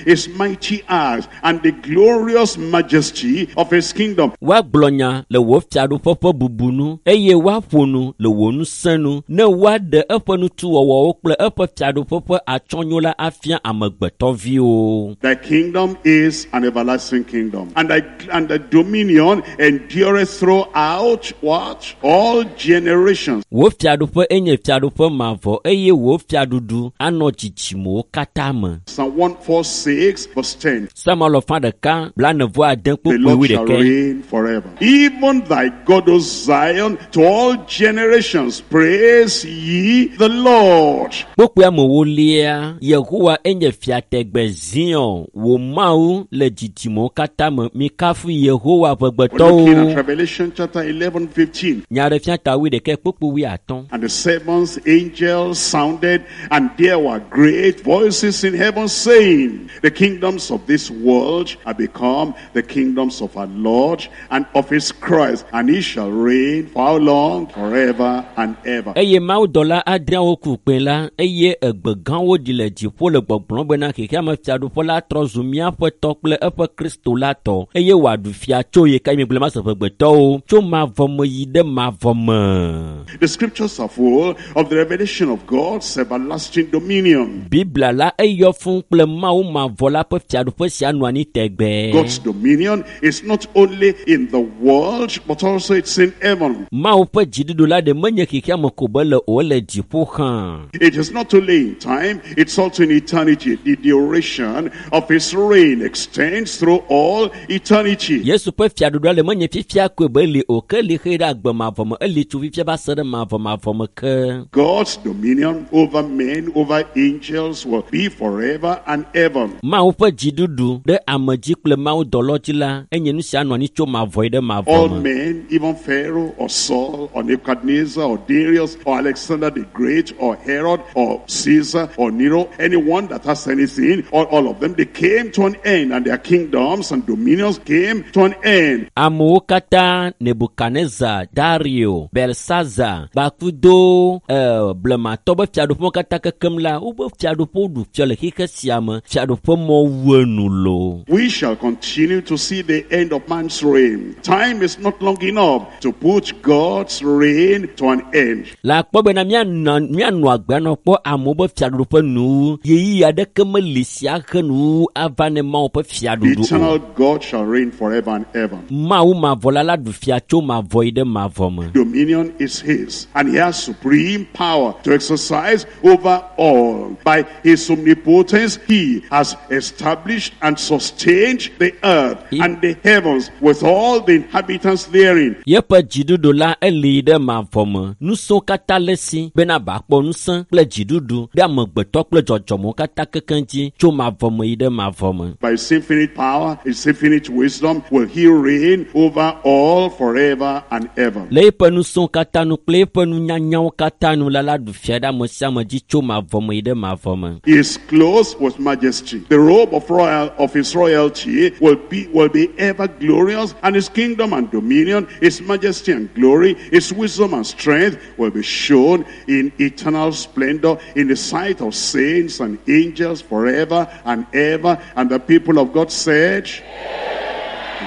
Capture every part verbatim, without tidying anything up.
his mighty acts and the glorious majesty of his kingdom. Woagblɔ nya le wò fiaɖuƒe ƒe bubu nu eye woaƒo nu le wò ŋusẽ nu ne woaɖe eƒe nutuwɔwɔwo kple eƒe fiaɖuƒe ƒe atsyɔ̃nyo la afia amegbetɔviwo. Thy kingdom is an everlasting kingdom, and thy and the dominion endureth throughout what? All generations. Wò fiaɖuƒe enye fiaɖuƒe mavɔ eye wò fiaɖuɖu anɔ dzidzimewo katã me. Psalm one forty-six, verse ten. Psalm alafa ɖeka blaene vɔ ade The kpukpui Lord wui shall ɖekɛ. Reign forever. Even thy God, O Zion, to all generations, praise ye the Lord. Kpukpui amewolia, Yehowa enye fia tegbe Zion, wò Mawu le dzidzimewo katã me. Mikafu Yehowa We're looking at ʋegbetɔwo. Revelation chapter eleven, fifteen. Nyaɖeɖefia ta wui ɖekɛ kpukpui wui atɔ̃. And the seventh angel sounded, and there were great voices in heaven saying, "The kingdoms of this world are become the kingdoms of our Lord and of his Christ, and he shall reign for how long? Forever and ever." Eye mawudɔla adreawo ku kpẽ la eye egbe gãwo ɖi le dziƒo le gbɔgblɔm bena xexeame fiaɖuƒe la trɔ zu míaƒe tɔ kple eƒe Kristo la tɔ eye wòaɖu fia tso yi ka mi gblẽ mase ʋegbetɔwo tso mavɔ me yi ɖe mavɔ me. The scriptures are full of the revelation of God's everlasting dominion. Biblia la eyɔ fũ kple Mawu mavɔ la ƒe fiaɖuƒe sia nɔ anyi tegbee. God's dominion is not only in the world, but also it's in heaven. Mawu ƒe dziɖuɖu la ɖe menye xexeame ko be le o ele dziƒo hã. It is not only in time, it's also in eternity. The duration of his reign extends through all eternity. Yesu ƒe fiaɖuɖua le menye fifia koe be li o ke li xe ɖe agbe mavɔ me eli tso fifia va se ɖe mavɔ mavɔ me ke. God's dominion over men, over angels will be forever and ever. Mawu ƒe dziɖuɖu ɖe ame dzi kple Mawu dɔlɔ dzi la enye nu sia nɔ anyi tso mavɔ yi ɖe mavɔ All me. Men, even Pharaoh or Saul or Nebuchadnezzar or Darius or Alexander the Great or Herod or Caesar or Nero, anyone that has anything, all, all of them, they came to an end, and their kingdoms and dominions came to an end. Amewo katã Nebukadnezar, Dario, Belsaza kpakudo eh, blematɔ be fiaɖuƒewo katã kekem la wobe fiaɖuƒewo ɖu fia le xixe sia me fiaɖuƒe mɔ wu enu lo. We shall continue to see the end of man's reign. Time is not long enough to put God's reign to an end. Le akpɔ bena míanɔ míanɔ agbe anɔ kpɔ amewo be fiaɖuƒe nuwu ɣeyiɣi aɖeke meli sia he nuwu ava ne Mawu ƒe The fiaɖuɖu o. eternal God shall reign forever and ever. Mawu mavɔ la la ɖu fia tso mavɔ yi ɖe mavɔ me. Dominion is his, and he has supreme power to exercise over all. By his omnipotence, he has established and sustained the earth and the heavens with all the inhabitants therein. Yeƒe dziɖuɖu la eli ɖe mavɔ me ŋusẽwo katã le si bena bakpɔ ŋusẽ kple dziɖuɖu ɖe amegbetɔ kple dzɔdzɔmewo katã kekeŋ dzi tso mavɔ me yi ɖe mavɔ me. By his infinite power, his infinite wisdom, will he reign over all forever and ever. Le eƒe ŋusẽwo katã nu kple eƒe nunyanyawo katã nu la la ɖu fia ɖe ame sia ame dzi tso mavɔ me yi ɖe mavɔ me. He is clothed with majesty. The robe of royal of his royalty will be will be ever glorious, and his kingdom and dominion, his majesty and glory, his wisdom and strength will be shown in eternal splendor in the sight of saints and angels forever and ever. And the people of God said,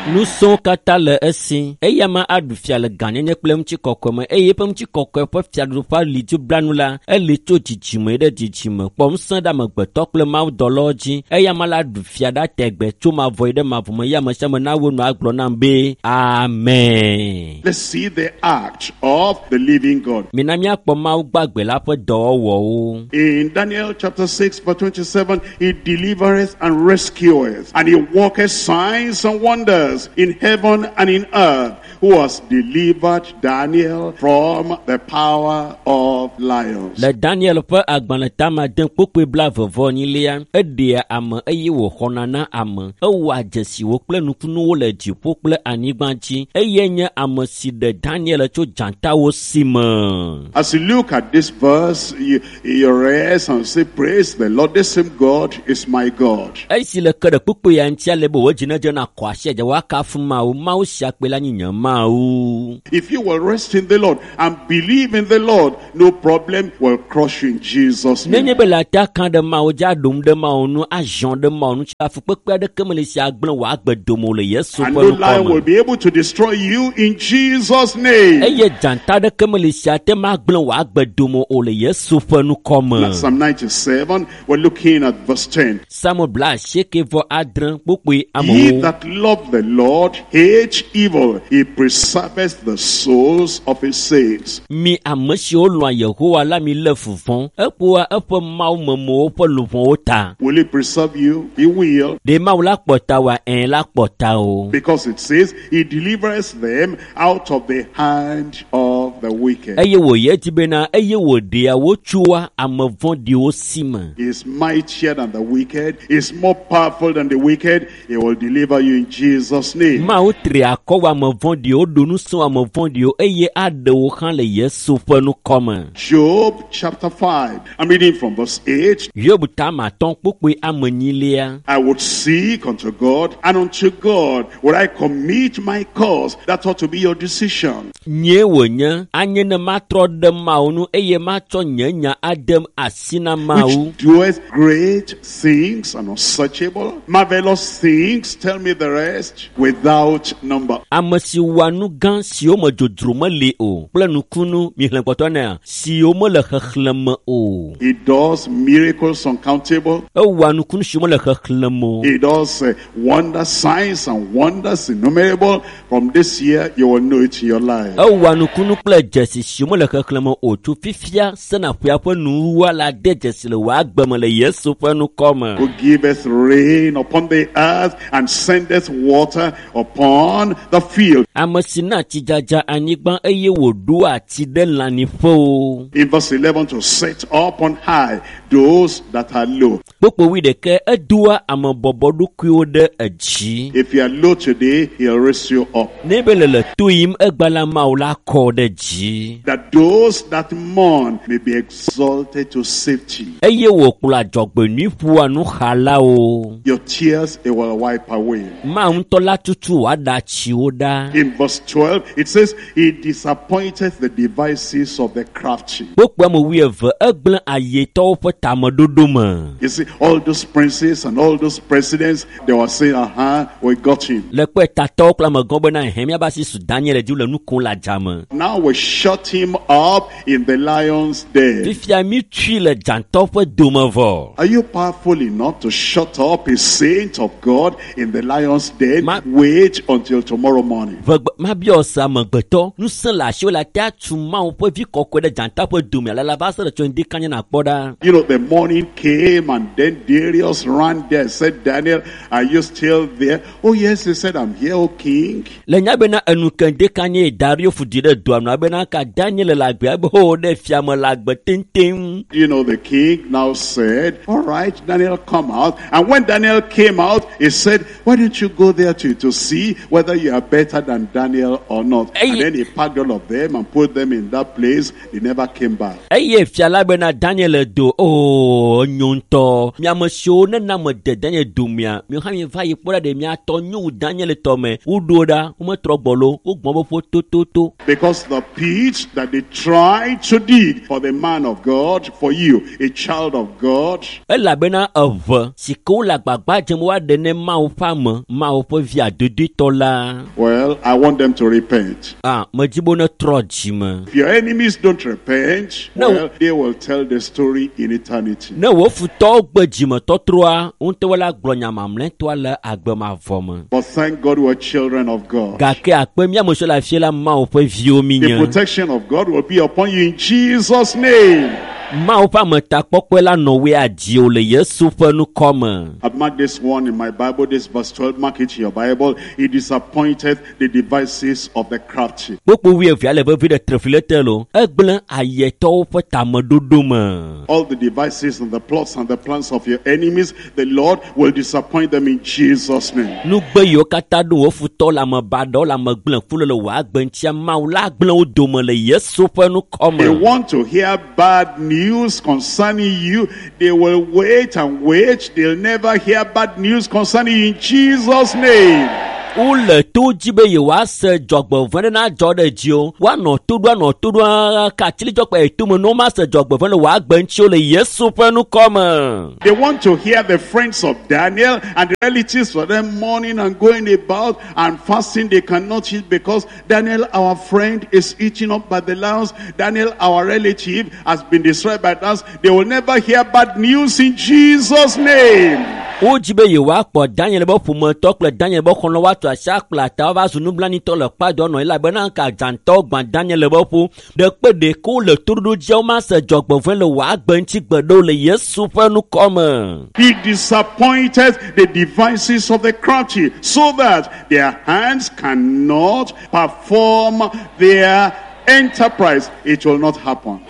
Ŋusẽwo katã le esi eya ma aɖu fia le gãnyenye kple ŋutikɔkɔe me eye eƒe ŋutikɔkɔe ƒe fiaɖuƒe ali dzo blanu la eli tso dzidzime ɖe dzidzime kpɔ ŋusẽ ɖe amegbetɔ kple mawudɔlawo dzi eya ma la ɖu fia ɖa tegbe tso mavɔ yi ɖe mavɔ me eye ame sia ame nawo nu agblɔ nam be amen. Let's see the act of the living God. Mina míakpɔ Mawu gbagbe la ƒe dɔwɔwɔwo. In Daniel chapter six, verse twenty-seven, he delivereth and rescueth, and he worketh signs and wonders in heaven and in earth, who has delivered Daniel from the power of lions. Le Daniel ƒe agbalẽ tama de kpukpui blaeve vɔ enyilia eɖea ame eye wòxɔna na ame ewɔa dzesiwo kple nukunuwo le dziƒo kple anyigba dzi eye nye ame si ɖe Daniel tso dzatawo si me. As you look at this verse, you, you rest and say, "Praise the Lord, the same God is my God." Esi le ke ɖe kpukpui ya ŋutia le be wò dzi nedze na kɔ asi dze Woakafu Mawu. Mawu sia kpe la nye nye Mawu. If you will rest in the Lord and believe in the Lord, no problem will crush you in Jesus' name. Nenye be le ate aka ɖe Mawu dzi aɖom ɖe Mawu nu azɔ ɖe Mawu nu tsi afukpekpe aɖeke mele si agblẽ wò agbe dome o le Yesu And ƒe no ŋkɔ lion me. will be able to destroy you in Jesus' name. Eye dzata aɖeke mele si ate ŋu agblẽ wò agbe dome o le Yesu ƒe ŋkɔ me. Now, Psalm ninety-seven, we're looking at verse ten. Psalm bla asieke vɔ adre kpukpui Ye amewo. that love the Lord hate evil. He preserveth the souls of his saints. Mi ame siwo lɔ̃a Yehowa la mi lé fu vɔ̃. Ekpɔa eƒe mawumemewo ƒe luʋɔwo ta. Will he preserve you? He will. Ɖe Mawu la kpɔ ta oa? Ɛ̃ la kpɔ ta o. Because it says he delivers them out of the hand of the wicked. Eye wòyi edzi bena eye wòɖea wo tsoa ame vɔ̃ɖiwo si me. He is mightier than the wicked. He is more powerful than the wicked. He will deliver you in Jesus' name. Mawu tri akɔ wɔ ame vɔ̃ɖiwo, ɖo ŋusẽ wɔ ame vɔ̃ɖiwo eye aɖe wo hã le Yesu ƒe ŋkɔ me. Job chapter five. I'm reading from verse eight. Hiob ta ame atɔ̃ kpukpui ame enyilia. I would seek unto God, and unto God would I commit my cause. That ought to be your decision. Nyee wònye anye ne matrɔ ɖe Mawu nu eye matsɔ nye nya ade asi na Mawu. Which doeth great things and unsearchable, marvelous things, tell me the rest, without number. Ame si wɔa nu gã siwo me dzodzro meli o kple nukunu mihlẽ kpɔtɔ nea siwo mele xexlẽme o. He does miracles uncountable. Ewɔa nukunu siwo mele xexlẽme o. He does uh, wonder signs and wonders innumerable. From this year, you will know it in your life. Ewɔa nukunu kple dzesi siwo mele xexlẽme o tso fifia sena ƒea ƒe nuwuwua la de dzesi le wò agbe me le Yesu ƒe ŋkɔ me. Who giveth rain upon the earth and sendeth water upon the field. Ame si na tsidzadza anyigba eye wòɖoa tsi ɖe lãnyiƒewo. In verse eleven, to set up on high those that are low. Kpukpui wuiɖekɛ edoa ame bɔbɔɖokuiwo ɖe edzi. If you are low today, he'll raise you up. Ne be le le to yim egba la Mawu la kɔ ɖe dzi. That those that mourn may be exalted to safety. Eye wòkplɔ adzɔgbenyui ƒoa nuxalawo. Your tears he will wipe away. Mawu ŋutɔ la tutu wòaɖe atsiwo ɖa. In verse twelve, it says, He disappointed the devices of the crafty. Kpukpui ame wuieve egblẽ ayetɔwo ƒe tameɖoɖo me. You see, all those princes and all those presidents, they were saying, aha, we got him. Le kpɔe tatɔwo kple amegãwo bena hẽ míabe asi su Daniel dzi le nu kom le adzame. Now we shut him up in the lion's den. Fifia mi tui le dzãtɔ ƒe dome vɔ. Are you powerful enough to shut up a saint of God in the lion's den? Ma- Wait until tomorrow morning. Vegbe mabiɔ se amegbetɔ ŋusẽ le asiwò le ate atu Mawu ƒe vi kɔkɔe ɖe dzata ƒe dome ale la va se ɖe tso ŋdi kanya nàkpɔ ɖa. You know, the morning came and then Darius ran there and said, Daniel, are you still there? Oh, yes, he said, I'm here, O king. Le nya bena enu ke ŋdi kanya Dario fu di ɖe doa nu abena ka Daniel le agbe abe ho ɖe fiame le agbe teŋteŋ. You know, the king now said, all right, Daniel, come out. And when Daniel came out, he said, why don't you go there to, to see whether you are better than Daniel or not? Hey. And then he packed all of them and put them in that place. They never came back. Eye fia la bena Daniel do o nyo ŋutɔ. Mi ame siwo nena me de Daniel domea, mi hã mi va yi kpɔ ɖa ɖe miatɔ nyo wu Daniel tɔ me. Woɖo ɖa, wometrɔ gbɔ lo, wogbɔn be ƒo tototo. Because the pit that they tried to dig for the man of God, for you, a child of God, Elabena eve si ke wole agbagba dzem woaɖe ne Mawu ƒe ame, Mawu ƒe vi adodoetɔ la. well, I want them to repent. Ah, medzi be wonetrɔ dzime. If your enemies don't repent, No. well, they will tell the story in eternity. Ne wò futɔwo gbe dzimetɔtrɔa, wo ŋutɔ la gblɔ nya mamlɛtɔa le agbe mavɔ me. But thank God we're children of God. Gake akpe mía ame siwo le afia la Mawu ƒe viwo mi The nye. protection of God will be upon you in Jesus' name. Mawu ƒe ametakpɔkpɔe la nɔ woe adzi o le Yesu ƒe ŋkɔ me. I've marked this one in my Bible, this verse twelve. Mark it in your Bible. He disappointed the devices of the crafty. Kpukpui wuievea le vevi ɖe trefli te lo. Egblẽ ayetɔwo ƒe tameɖoɖo me. All the devices and the plots and the plans of your enemies, the Lord will disappoint them in Jesus' name. Nugbe yiwo katã ɖo wò futɔ le ame baɖawo le ame gblẽku le le wò agbe ŋutia, Mawu la gblẽ wo dome le Yesu ƒe ŋkɔ They me. want to hear bad news concerning you. They will wait and wait. They'll never hear bad news concerning you in Jesus' name. Wole to dzi be yewoase dzɔgbevɔ̃e ɖe nadzɔ ɖe dziwò. Woanɔ to ɖo anɔ to ɖo ka atsilidzɔkpe yi tome ne womase dzɔgbevɔ̃e le wò agbe ŋuti o le Yesu ƒe ŋkɔ me. They want to hear the friends of Daniel and the relatives for them mourning and going about and fasting. They cannot eat because Daniel, our friend, is eaten up by the lions. Daniel, our relative, has been destroyed by lions. They will never hear bad news in Jesus' name. Wodzi be yewoakpɔ Daniel be ƒometɔ kple Daniel be xɔlɔ̃ woatu asi akpla ta woava zu nublanuitɔ le kpadɔ nɔ elabena ka dzãtɔwo gbã Daniel be ƒo ɖekpe ɖeke wole toɖoɖo dzia womase dzɔgbevɔ̃e le wò agbe ŋuti gbe ɖe o le Yesu ƒe ŋkɔ me. He disappointed the devices of the crafty so that their hands cannot perform their enterprise. It will not happen.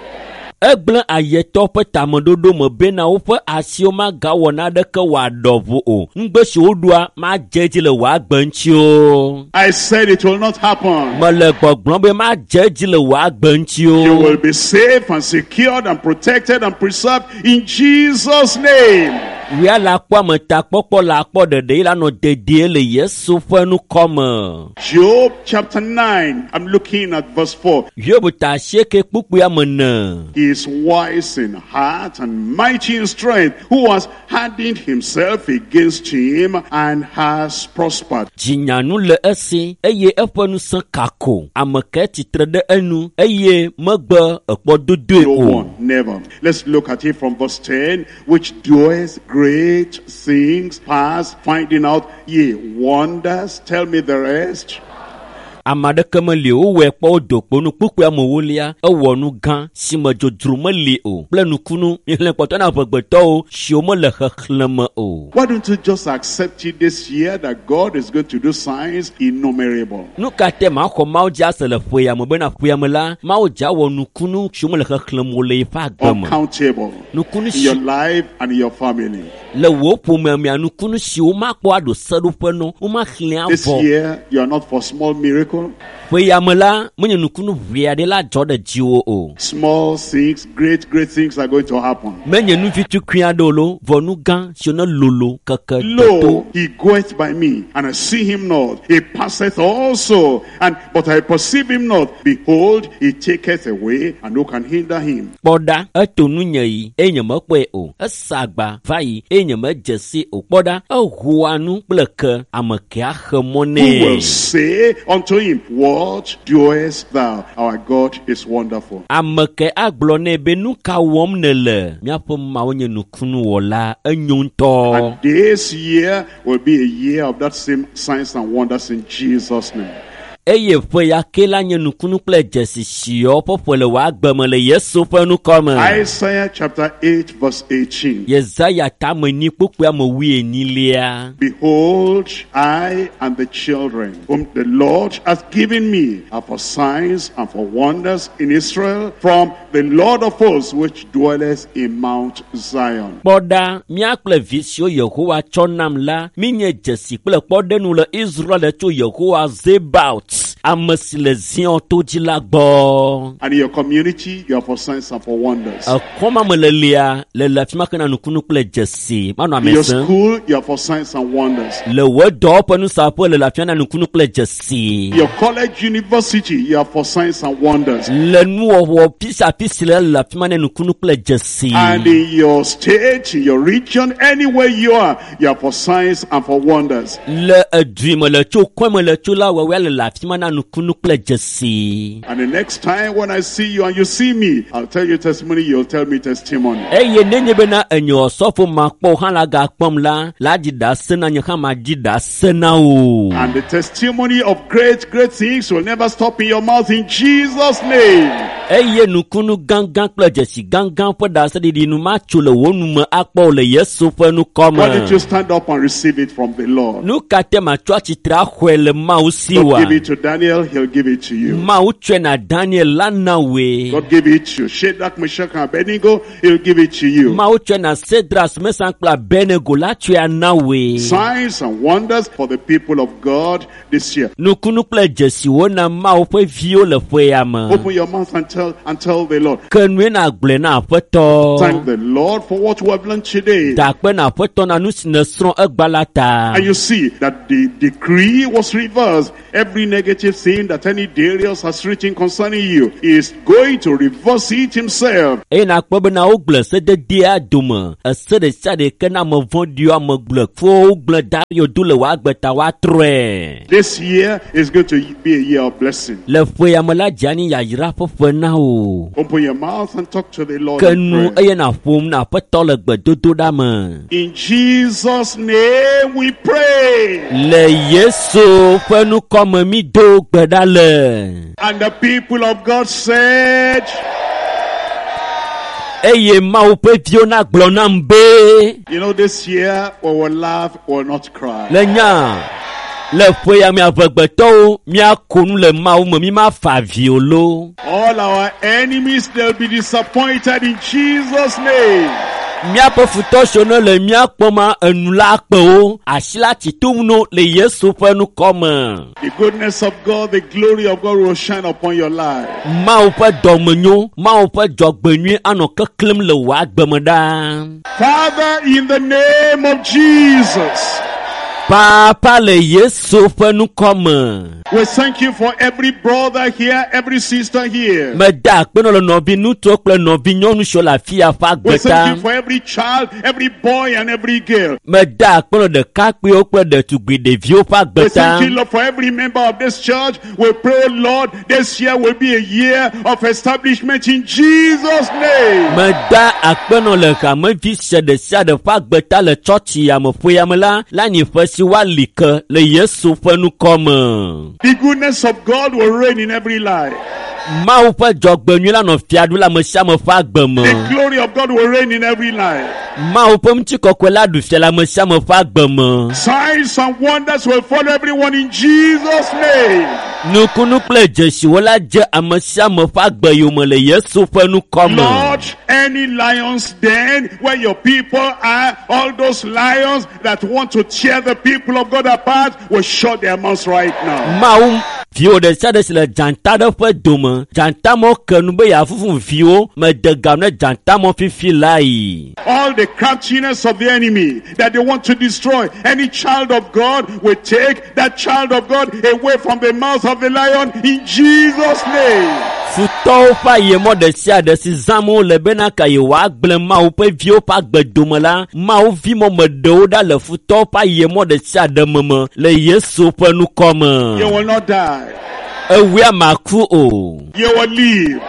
Egblẽ ayetɔ ƒe tameɖoɖo me bena woƒe asiwo magawɔ naneke wòaɖɔ ʋu o. Nugbe si woɖoa madze edzi le wò agbe ŋuti o. I said it will not happen. Mele gbɔgblɔm be madze edzi le wò agbe ŋuti You o. will be safe and secured and protected and preserved in Jesus' name. Wia le akpɔ ametakpɔkpɔ le akpɔ ɖeɖe yi la nɔ dedie le Yesu ƒe ŋkɔ me. Job chapter nine, I'm looking at verse four. Hiob ta asieke kpukpui ame ene. He is wise in heart and mighty in strength, who has hardened himself against him and has prospered. Dzinyanu le esi eye eƒe ŋusẽ kako. Ame ke tsitre ɖe enu eye megbe ekpɔ dodoe No o. one, never. Let's look at it from verse ten, which doeth great things past finding out, ye wonders. Tell me the rest. Ame aɖeke meli o, wowɔe kpɔ wo do kpo nu kpukpui amewolia ewɔ nu gã si me dzodzro meli o kple nukunu mixlẽ kpɔtɔ na amegbetɔwo siwo mele xexlẽme o. Why don't you just accept it this year that God is going to do signs innumerable? Nu ka te maxɔ Mawu dzi ase le ƒe ya me bena ƒe ya me la Mawu dzi awɔ nukunu siwo mele xexlẽme o le yeƒe agbe me. Uncountable. Nukunu In si your life and in your family. le wò ƒomea mea nukunu siwo makpɔ aɖo seɖoƒe nɔ womaxlẽ This avɔ. year, you are not for small miracle. Ƒe ya me la menye nukunu ʋee aɖe la dzɔ ɖe dziwò o. Small things, great, great things are going to happen. Menye nu vitukui aɖewo lo vɔ nu gã siwo ne lolo keke deto. Lo, he goeth by me, and I see him not. He passeth also, and but I perceive him not. Behold, he taketh away, and who can hinder him? Kpɔ ɖa, eto nunye yi eye nyemekpɔe o. Esa agba va yi eye nyemedze si o. Kpɔ ɖa, ehoa nu kple ke, ame ke axe mɔ Who will nɛ. say unto him, What doest thou? Our God is wonderful. Ame ke agblɔ nɛ be nu ka wɔm nèle? Míaƒe Mawu nye nukunuwɔla, enyo ŋutɔ. And this year will be a year of that same signs and wonders in Jesus' name. Eye ƒe ya ke la nye nukunu kple dzesi siwo ƒe ƒe le wò agbe me le Yesu ƒe ŋkɔ me. Isaiah chapter eight, verse eighteen. Yesaya tame enyi kpukpui ame wuienyilia. Behold, I and the children whom the Lord hath given me are for signs and for wonders in Israel from the Lord of hosts which dwelleth in Mount Zion. Kpɔ ɖa, mía kple vi siwo Yehowa tsɔ nam la, míenye dzesi kple kpɔɖenu le Israel tso Yehowa Zebaot, ame si le Zion to dzi la gbɔ. And in your community, you are for signs and for wonders. Ekɔma me le lia, le le afi ma ke na nukunu kple dzesi. Manɔ In ame your sẽm. school, you are for signs and wonders. Le wò dɔwɔƒe nusaƒe le le afi ma na nukunu kple dzesi. Your college, university, you are for signs and wonders. Le nuwɔwɔ pisiapisi le le afi ma na nukunu kple dzesi. And in your state, in your region, anywhere you are, you are for signs and for wonders. Le edui me le tso kɔe me le tso la wɔwɔa le le afi ma na nukunu kple dzesi. And the next time when I see you and you see me, I'll tell you testimony, you'll tell me testimony. Eye nenye bena enye osɔfo makpɔ hã la gakpɔm la, la dzi ɖase na nye hã madzi ɖase na wò. And the testimony of great, great things will never stop in your mouth in Jesus' name. Eye nukunu gãgã kple dzesi gãgã ƒe ɖaseɖiɖi nu matso le wò nu me akpɔ o le Yesu ƒe ŋkɔ Why don't you me. stand up and receive it from the Lord? Nu ka te matsɔ atsitre axɔe le Mawu si God wa? give it to Daniel, he'll give it to you. Mawu tsɔe na Daniel la na wòe. God give it to Shadrach, Meshach, and Abednego, he'll give it to you. Mawu tsɔe na Sedras, Mesan kple Abednego la tsɔe ana wòe. Signs and wonders for the people of God this year. Nukunu kple dzesiwo na Mawu ƒe viwo le ƒe ya me. Open your mouth and tell and tell the Lord? Ke nue na gblɔe na aƒetɔ. Thank the Lord for what we have learned today. Da akpe na aƒetɔ na nu si nèsrɔ̃ egba la ta. And you see that the decree was reversed. Every negative thing that any Darius has written concerning you is going to reverse it himself. Eye nakpɔ bena wogblẽ sededea dome. Ese ɖe sia ɖe ke na ame vɔ̃ɖiwo, ame gblẽkuwo gblẽ Dario do le wò agbe ta woatrɔe. This year is going to be a year of blessing. Le ƒe ya me la, dze anyi yayra ƒe ƒe na wò. Open your mouth and talk to the Lord. Ke in nu prayer. eye nàƒom na aƒetɔ le gbedodoɖa me. In Jesus' name we pray. Le Yesu ƒe ŋkɔ me mi do gbe ɖa le. And the people of God said, Eye Mawu ƒe viwo nagblɔ nam be. You know, this year we will laugh, we will not cry. Le nya le ƒe ya me amegbetɔwo míako nu le Mawu me mi mafa avi o lo. All our enemies, they'll be disappointed in Jesus' name. Míaƒe futɔ siwo ne le mía kpɔm enu la kpe wo asi la tsi tom no le Yesu ƒe ŋkɔ me. The goodness of God, the glory of God will shine upon your life. Mawu ƒe dɔmenyo, Mawu ƒe dzɔgbenyui anɔ keklẽm le wò agbe me ɖaa. Father, in the name of Jesus, Papa le Yesu ƒe ŋkɔ me. we thank you for every brother here, every sister here. Meda akpe nɔ le nɔvi ŋutsuwo kple nɔvi nyɔnu siwo le afi ya ƒe We agbe ta. thank you for every child, every boy, and every girl. Meda akpe nɔ ɖekakpuiwo kple ɖetugbui ɖeviwo ƒe We agbe ta. thank you, Lord, for every member of this church. We pray, Lord, this year will be a year of establishment in Jesus' name. Meda akpe nɔ le hamevi sia ɖe sia ɖe ƒe agbe ta le tsɔtsi ya me ƒe ya me la, le anyi ƒe si woali ke le Yesu ƒe ŋkɔ me. The goodness of God will reign in every life. Mawu ƒe dzɔgbenyui la nɔ fia ɖum le ame sia ame ƒe agbe me. The glory of God will reign in every life. Mawu ƒe ŋutikɔkɔe la ɖu fia le ame sia ame ƒe agbe me. Signs and wonders will follow everyone in Jesus' name. Nukunu kple dzesiwo la dze ame sia ame ƒe agbe yome le Yesu ƒe ŋkɔ me. Lord, any lions den where your people are, all those lions that want to tear the people of God apart will shut their mouths right now. Mawu viwo ɖe sia ɖe si le dzata ɖe ƒe dome, dzatamɔ ke nu be yeafufu viwo, mede gam ne dzatamɔ fifi lae. All the craftiness of the enemy that they want to destroy any child of God will take that child of God away from the mouth of the lion in Jesus' name. Futɔwo ƒe ayemɔ ɖe sia ɖe si zãm wole bena ka yewoagblẽ Mawu ƒe viwo ƒe agbe dome la, Mawu vimɔ me ɖewo ɖa le futɔwo ƒe ayemɔ ɖe sia ɖe me me le Yesu ƒe ŋkɔ me. You will not die. Ewia maku o, You will live.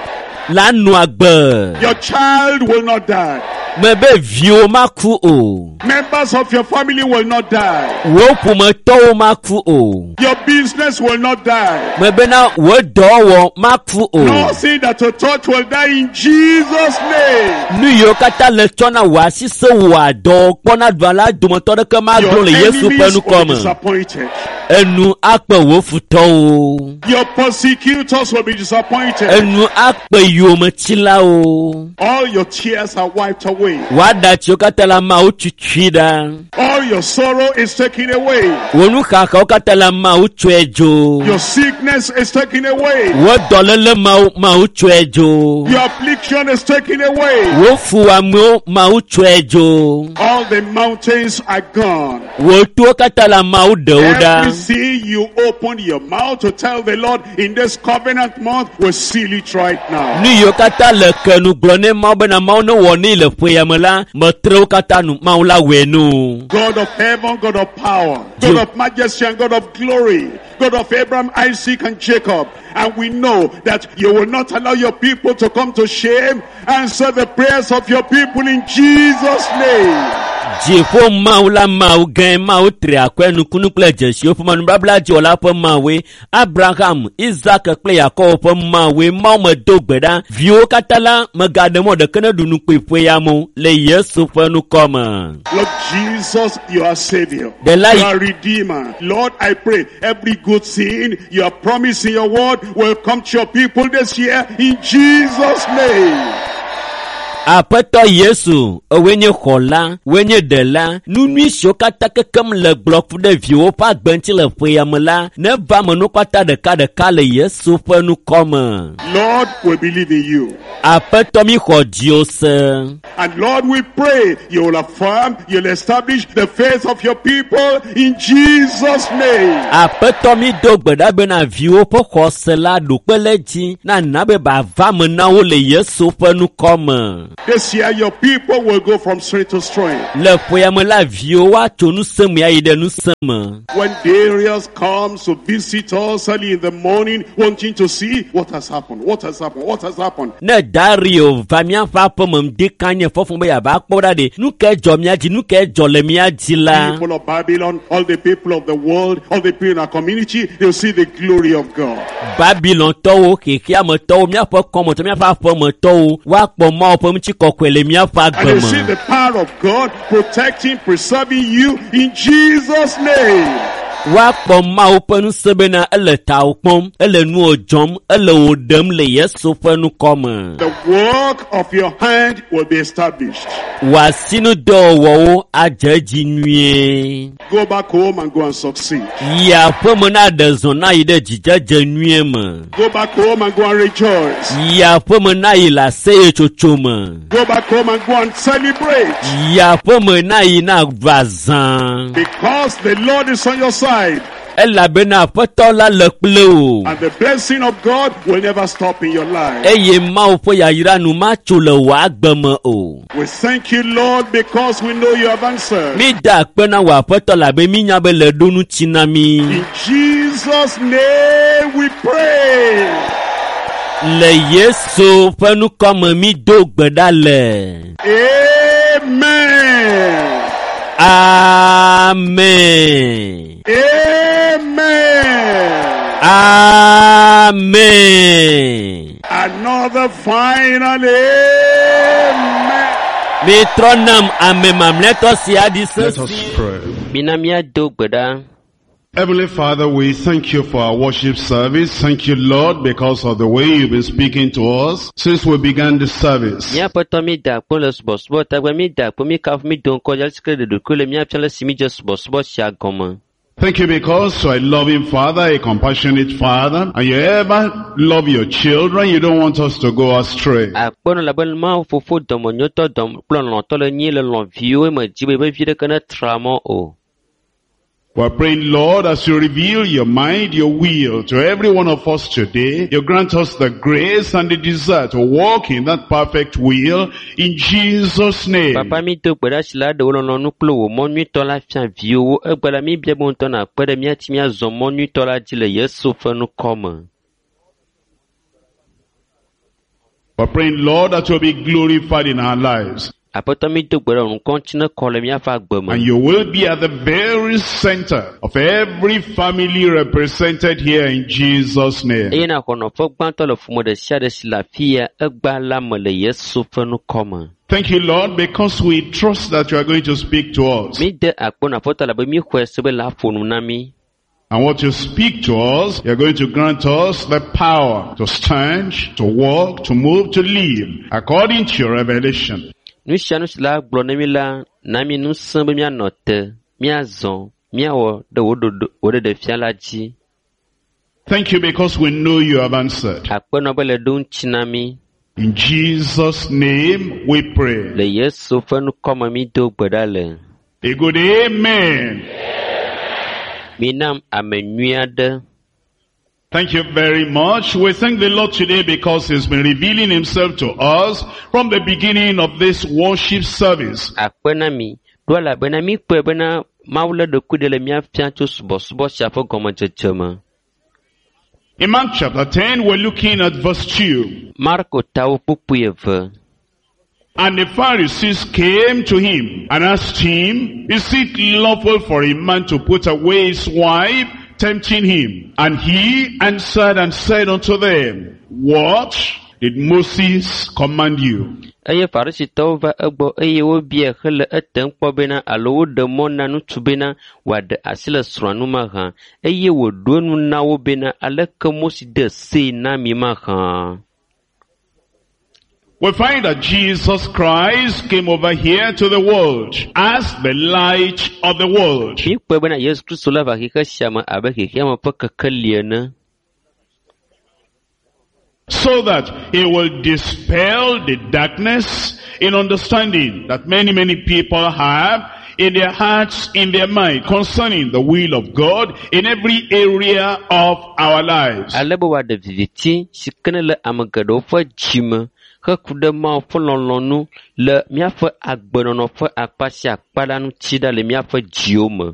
la nɔ agbe. Your child will not die. Mebe viwo maku o, Members of your family will not die. wò ƒometɔwo maku o. Your business will not die. Mebena wò dɔwɔwɔ maku o. Nothing that you touch will die in Jesus' name. Nu yiwo katã le tsɔ na wò asi se wò adɔ kpɔna ɖua la dometɔ ɖeke magblɔ Your le Yesu ƒe enemies will ŋkɔ be me. disappointed. Enu akpe wò futɔwo. Your persecutors will be disappointed. Enu akpe yometsilawo. All your tears are wiped away. Wò aɖatsiwo katã le ameawo tutui ɖa. All your sorrow is taken away. Wò nuxaxawo katã le ameawo tsɔe dzo. Your sickness is taken away. Wò dɔléle mawo mawo tsɔe dzo. Your affliction is taken away. Wò fuwɔamewo mawo tsɔe dzo. All the mountains are gone. Wò towo katã le ameawo ɖewo ɖa. Everything you open your mouth to tell the Lord in this covenant month will seal it right now. Nu yiwo katã le ke nu gblɔ ne Mawu bena Mawu ne wɔ nɛ le ƒe ya me la, metre wo katã nu Mawu la wɔe nu. God of heaven, God of power, God of majesty and God of glory, God of Abraham, Isaac and Jacob. And we know that you will not allow your people to come to shame. Answer the prayers of your people in Jesus' name. Dziƒo Mawu la Mawu gãe, Mawu tri akɔe nukunu kple dzesiwo ƒe nubabla dziwɔla ƒe Mawue, Abraham, Isak kple Yakobo ƒe Mawue, Mawu medo gbe ɖa. Viwo katã la megaɖe mɔ ɖeke ne ɖu nu kpui ƒe ya me o, le Yesu ƒe ŋkɔ me. Lord Jesus, you are Savior. The light- You are Redeemer. Lord, I pray every good thing you have promised in your word will come to your people this year in Jesus' name. Aƒetɔ Yesu, ewoe nye xɔla, woe nye ɖela. Nu nyui siwo katã kekem le gblɔ ku ɖe viwò ƒe agbe ŋuti le ƒe ya me la, neva me nu katã ɖekaɖeka le Yesu ƒe ŋkɔ me. Lord, we believe in you. Aƒetɔ mi xɔ dziwò se. And Lord, we pray you will affirm, you'll establish the faith of your people in Jesus' name. Aƒetɔ mi do gbe ɖa bena viwo ƒe xɔse la ɖo kpe le dzi na na be bava me na wo le Yesu ƒe ŋkɔ me. This year, your people will go from strength to strength. Le ƒe ya me la viwo woatso ŋusẽ me ayi ɖe ŋusẽ me. When Darius comes to visit us early in the morning, wanting to see what has happened, what has happened, what has happened. Ne Dario va míaƒe aƒeme ŋdi kanye fɔfɔ be yeava kpɔ ɖa ɖe, nu kae dzɔ mía dzi, nu kae dzɔ le mía dzi la? People of Babylon, all the people of the world, all the people in our community, they'll see the glory of God. Babilontɔwo, xexeametɔwo, míaƒe kɔmetɔ, míaƒe aƒemetɔwo, woakpɔ Mawu ƒe ŋutikɔkɔe le míaƒe And agbe they'll see me. the power of God protecting, preserving you in Jesus' name. Woakpɔ Mawu ƒe ŋusẽ bena ele tawò kpɔm, ele nuwò dzɔm, ele wò ɖem le Yesu ƒe ŋkɔ me. The work of your hand will be established. Wò asinudɔwɔwɔwo adze edzi nyuie. Go back home and go and succeed. Yi aƒeme na ɖe zɔ na yi ɖe dzidzedze nyuie me. Go back home and go and rejoice. Yi aƒeme na yi le aseyetsotso me. Go back home and go and celebrate. Yi aƒeme na yi na va zã. Because the Lord is on your side. Elabena Aƒetɔ la le kple wò. And the blessing of God will never stop in your life. Eye Mawu ƒe yayra nu matso le wò agbe me o. We thank you, Lord, because we know you have answered. Mi da akpe na wò Aƒetɔ labe mi nya be le ɖo ŋuti na mi. In Jesus' name we pray. Le Yesu ƒe ŋkɔ me mi do gbe ɖa le. Amen. Amen. Amen. Amen. Another final amen. Mi trɔ nam ame mamlɛtɔ sia ɖi Let us sesi. pray. Mina míado gbe ɖa. Heavenly Father, we thank you for our worship service. Thank you, Lord, because of the way you've been speaking to us since we began the service. Mía Aƒetɔ mi da akpe le subɔsubɔ tagbe mi da akpe mi kafu mi do ŋkɔ dzi ale si ke ɖe ɖokui le mía fia le si mi dze subɔsubɔ sia gɔme. Thank you because you are a loving Father, a compassionate Father, and you ever love your children. You don't want us to go astray. Akpe nɔ labe Mawu fofo dɔmenyotɔ dɔm kple lɔlɔ̃tɔ le nyi le lɔ̃ viwo me dzi be be vi ɖeke netra mɔ o. We're praying, Lord, as you reveal your mind, your will to every one of us today, you grant us the grace and the desire to walk in that perfect will in Jesus' name. Papa mi do gbe ɖa si la ɖe wò lɔlɔ̃nu kple wò mɔ nyuitɔ la fia viwòwo. Egbe la mi bia be ŋutɔ nàkpe ɖe mía ŋuti míazɔ mɔ nyuitɔ la dzi le Yesu ƒe ŋkɔ me. We're praying, Lord, that you'll be glorified in our lives. Aƒetɔ mi do gbe ɖa wò ŋkɔ ŋuti nekɔ le míaƒe agbe me. And you will be at the very center of every family represented here in Jesus' name. Eye nàxɔ nɔƒe gbãtɔ le ƒome ɖe sia ɖe si le afi ya egbea la me le Yesu ƒe ŋkɔ me. Thank you, Lord, because we trust that you are going to speak to us. Mi de akpe na Aƒetɔ labe mi xɔe se be la ƒo nu na mi. And what you speak to us, you're going to grant us the power to stand, to walk, to move, to live, according to your revelation. Nu sia nu si la gblɔ na mi la, na mi ŋusẽ be míanɔ te, míazɔ, míawɔ ɖe wò ɖoɖo wò ɖeɖefia la dzi. Thank you because we know you have answered. Akpe nɔ be le ɖo ŋuti na mi. In Jesus' name we pray. Le Yesu ƒe ŋkɔ me mi do gbe ɖa le. A good amen. Minam ame nyui aɖe. Thank you very much. We thank the Lord today because He's been revealing Himself to us from the beginning of this worship service. Akpe na mi. Ɖo elabena mi kpɔe bena Mawu le ɖokui ɖe le mía fia tso subɔsubɔ sia ƒe gɔmedzedze me. In Mark chapter ten, we're looking at verse two. Marko tawo kpukpui eve. And the Pharisees came to him and asked him, Is it lawful for a man to put away his wife? Tempting him. And he answered and said unto them, What did Moses command you? Eye Farisitɔwo va egbɔ eye wobiae hele etem kpɔ bena alo woɖe mɔ na ŋutsu bena wòaɖe asi le srɔ̃a ŋu mahã. Eye wòɖo eŋu na wo bena aleke Mose de see na mi mahã. We find that Jesus Christ came over here to the world as the light of the world. Míekpɔe bena Yesu Kristo la va xexe sia me abe xexeame ƒe kekeli ene. So that he will dispel the darkness in understanding that many, many people have in their hearts, in their mind, concerning the will of God in every area of our lives. Ale be wòaɖe viviti si ke ne le ame geɖewo ƒe dzime heku ɖe Mawu ƒe lɔlɔ̃nu le míaƒe agbenɔnɔ ƒe akpa sia akpa la ŋuti ɖa le míaƒe dziwo me.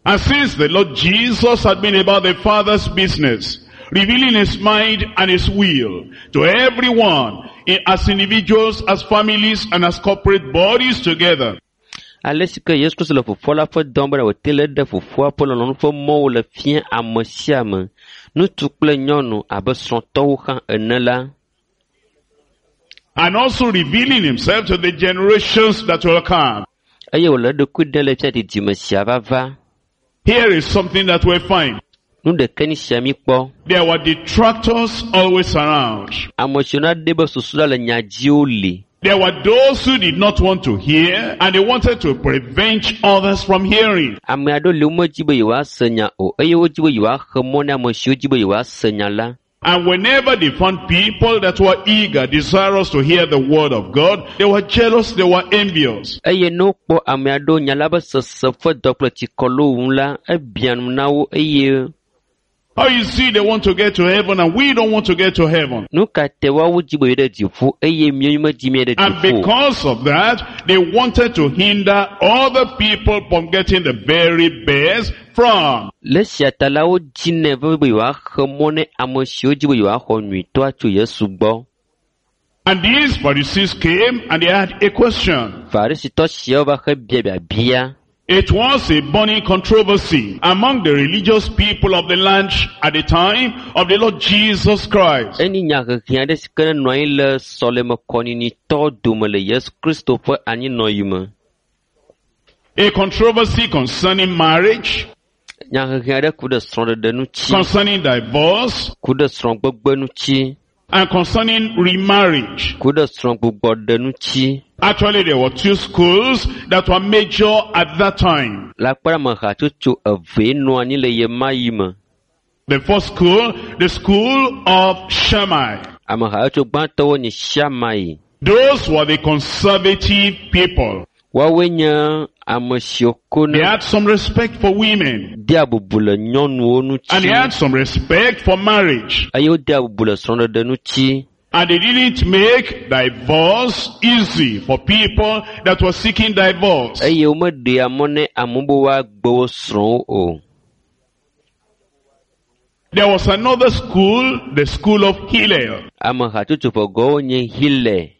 And since the Lord Jesus had been about the Father's business, revealing his mind and his will to everyone, eh, as individuals, as families, and as corporate bodies together, Ale si ke Yesu Kristo le fofoa la ƒe dɔm bena wòte le ɖe fofoa ƒe lɔlɔ̃nu ƒe mɔwo le fia ame sia ame, ŋutsu kple nyɔnu abe srɔ̃tɔwo hã ene la, and also revealing himself to the generations that will come. eye wòle eɖokui ɖem le fia didime sia va va. Here is something that we find. Nu ɖeke ni sia mi kpɔ. There were detractors always around. Ame siwo na ɖe be susu la le nya dziwo li. There were those who did not want to hear and they wanted to prevent others from hearing. Ame aɖewo li womedzi be yewoase nya o eye wodzi be yewoaxe mɔ na ame siwo dzi be yewoase nya la. And whenever they found people that were eager, desirous to hear the word of God, they were jealous, they were envious. Eye ne wokpɔ ame aɖewo nya la be sese ƒe dɔ kple tsikɔ le wo ŋu la, ebia nu na wo eye Oh, you see, they want to get to heaven and we don't want to get to heaven. nu ka te woawo dzi be yewo ɖe dziƒo eye míawo medzi mía ɖe And dziƒo o. because of that, they wanted to hinder other people from getting the very best from Le esia ta la, wodzinɛ vevie be yewoaxe mɔ ne ame siwo dzi be yewoaxɔ nyuitɔa tso Yesu gbɔ. And these Pharisees came and they had a question. Farisitɔ siawo va he bia biabia. It was a burning controversy among the religious people of the land at the time of the Lord Jesus Christ. Enyi nyahehe aɖe si ke nenɔ anyi le sɔleme kɔnyinyiitɔwo dome le Yesu Kristo ƒe anyinɔyi me. A controversy concerning marriage, Nyahehe aɖe ku ɖe srɔ̃ɖeɖe ŋuti, concerning divorce, ku ɖe srɔ̃gbegbe ŋuti, and concerning remarriage. ku ɖe srɔ̃gbugbɔɖe ŋuti. Actually, there were two schools that were major at that time. Le akpa ɖe me hatsotso evee nɔ anyi le ɣe ma ɣi me. The first school, the school of Shammai. Ame hatsotso gbãtɔwo nye Shammai. Those were the conservative people. Woawoe nye ame siwo ko They ne had some respect for women. dea bubu le nyɔnuwo And they ŋuti had some respect for marriage. eye wodea bubu le srɔ̃ɖeɖe ŋuti. And they didn't make divorce easy for people that were seeking divorce. Eye womeɖea mɔ ne amewo be woagbe wo srɔ̃wo o. There was another school, the school of Hillel. Ame hatsotso ƒe gɔwo nye Hillel.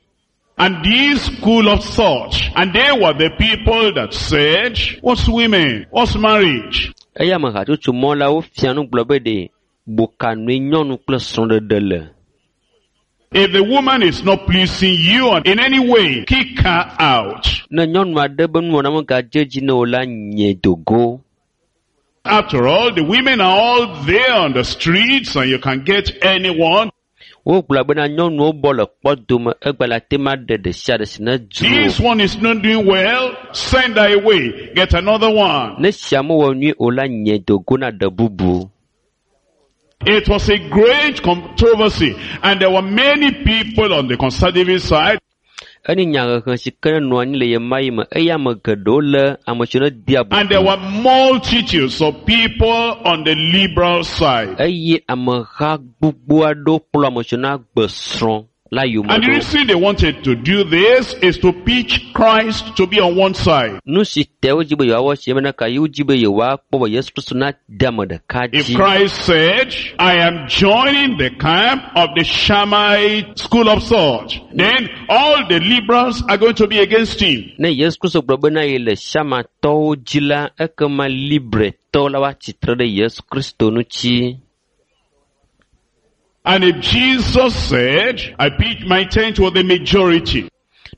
And this school of thought, and they were the people that said, what's women? What's marriage? Eye ame hatsotso mɔ la wofia nu gblɔ be ɖe bokanue nyɔnu kple srɔ̃ɖeɖe le. If the woman is not pleasing you in any way, kick her out. Ne nyɔnu aɖe be nuwɔna megadze edzi na o la, nye dogo. After all, the women are all there on the streets and you can get anyone. Wogblɔ bena nyɔnuwo bɔ le kpɔdome egbe le ate ma ɖe ɖe sia ɖe si ne dzro. This one is not doing well, send her away. Get another one. Ne sia mewɔ nyui o la, nye dogo na ɖe bubu. It was a great controversy and there were many people on the conservative side Enyi nyahehe si ke nenɔ anyi le ɣe ma ɣi me eye ame geɖewo le ame siwo ne dea and there bubu. were multitudes of people on the liberal side. Eye ameha gbogbo aɖewo kplɔ ame siwo na gbe srɔ̃ la yome And the ɖo. reason they wanted to do this is to pitch Christ to be on one side. Nu si te wodzi be yewoawɔ si bena ka yewo dzi be yewoakpɔ be Yesu Kristo na de ame ɖeka If dzi. Christ said, I am joining the camp of the Shammai school of thought, then all the liberals are going to be against him. Ne Yesu Kristo gblɔ bena ye le Shamatɔwo dzi la, ekema Libretɔwo la woatsi tre ɖe Yesu Kristo ŋuti. And if Jesus said, I pitch my tent with the majority,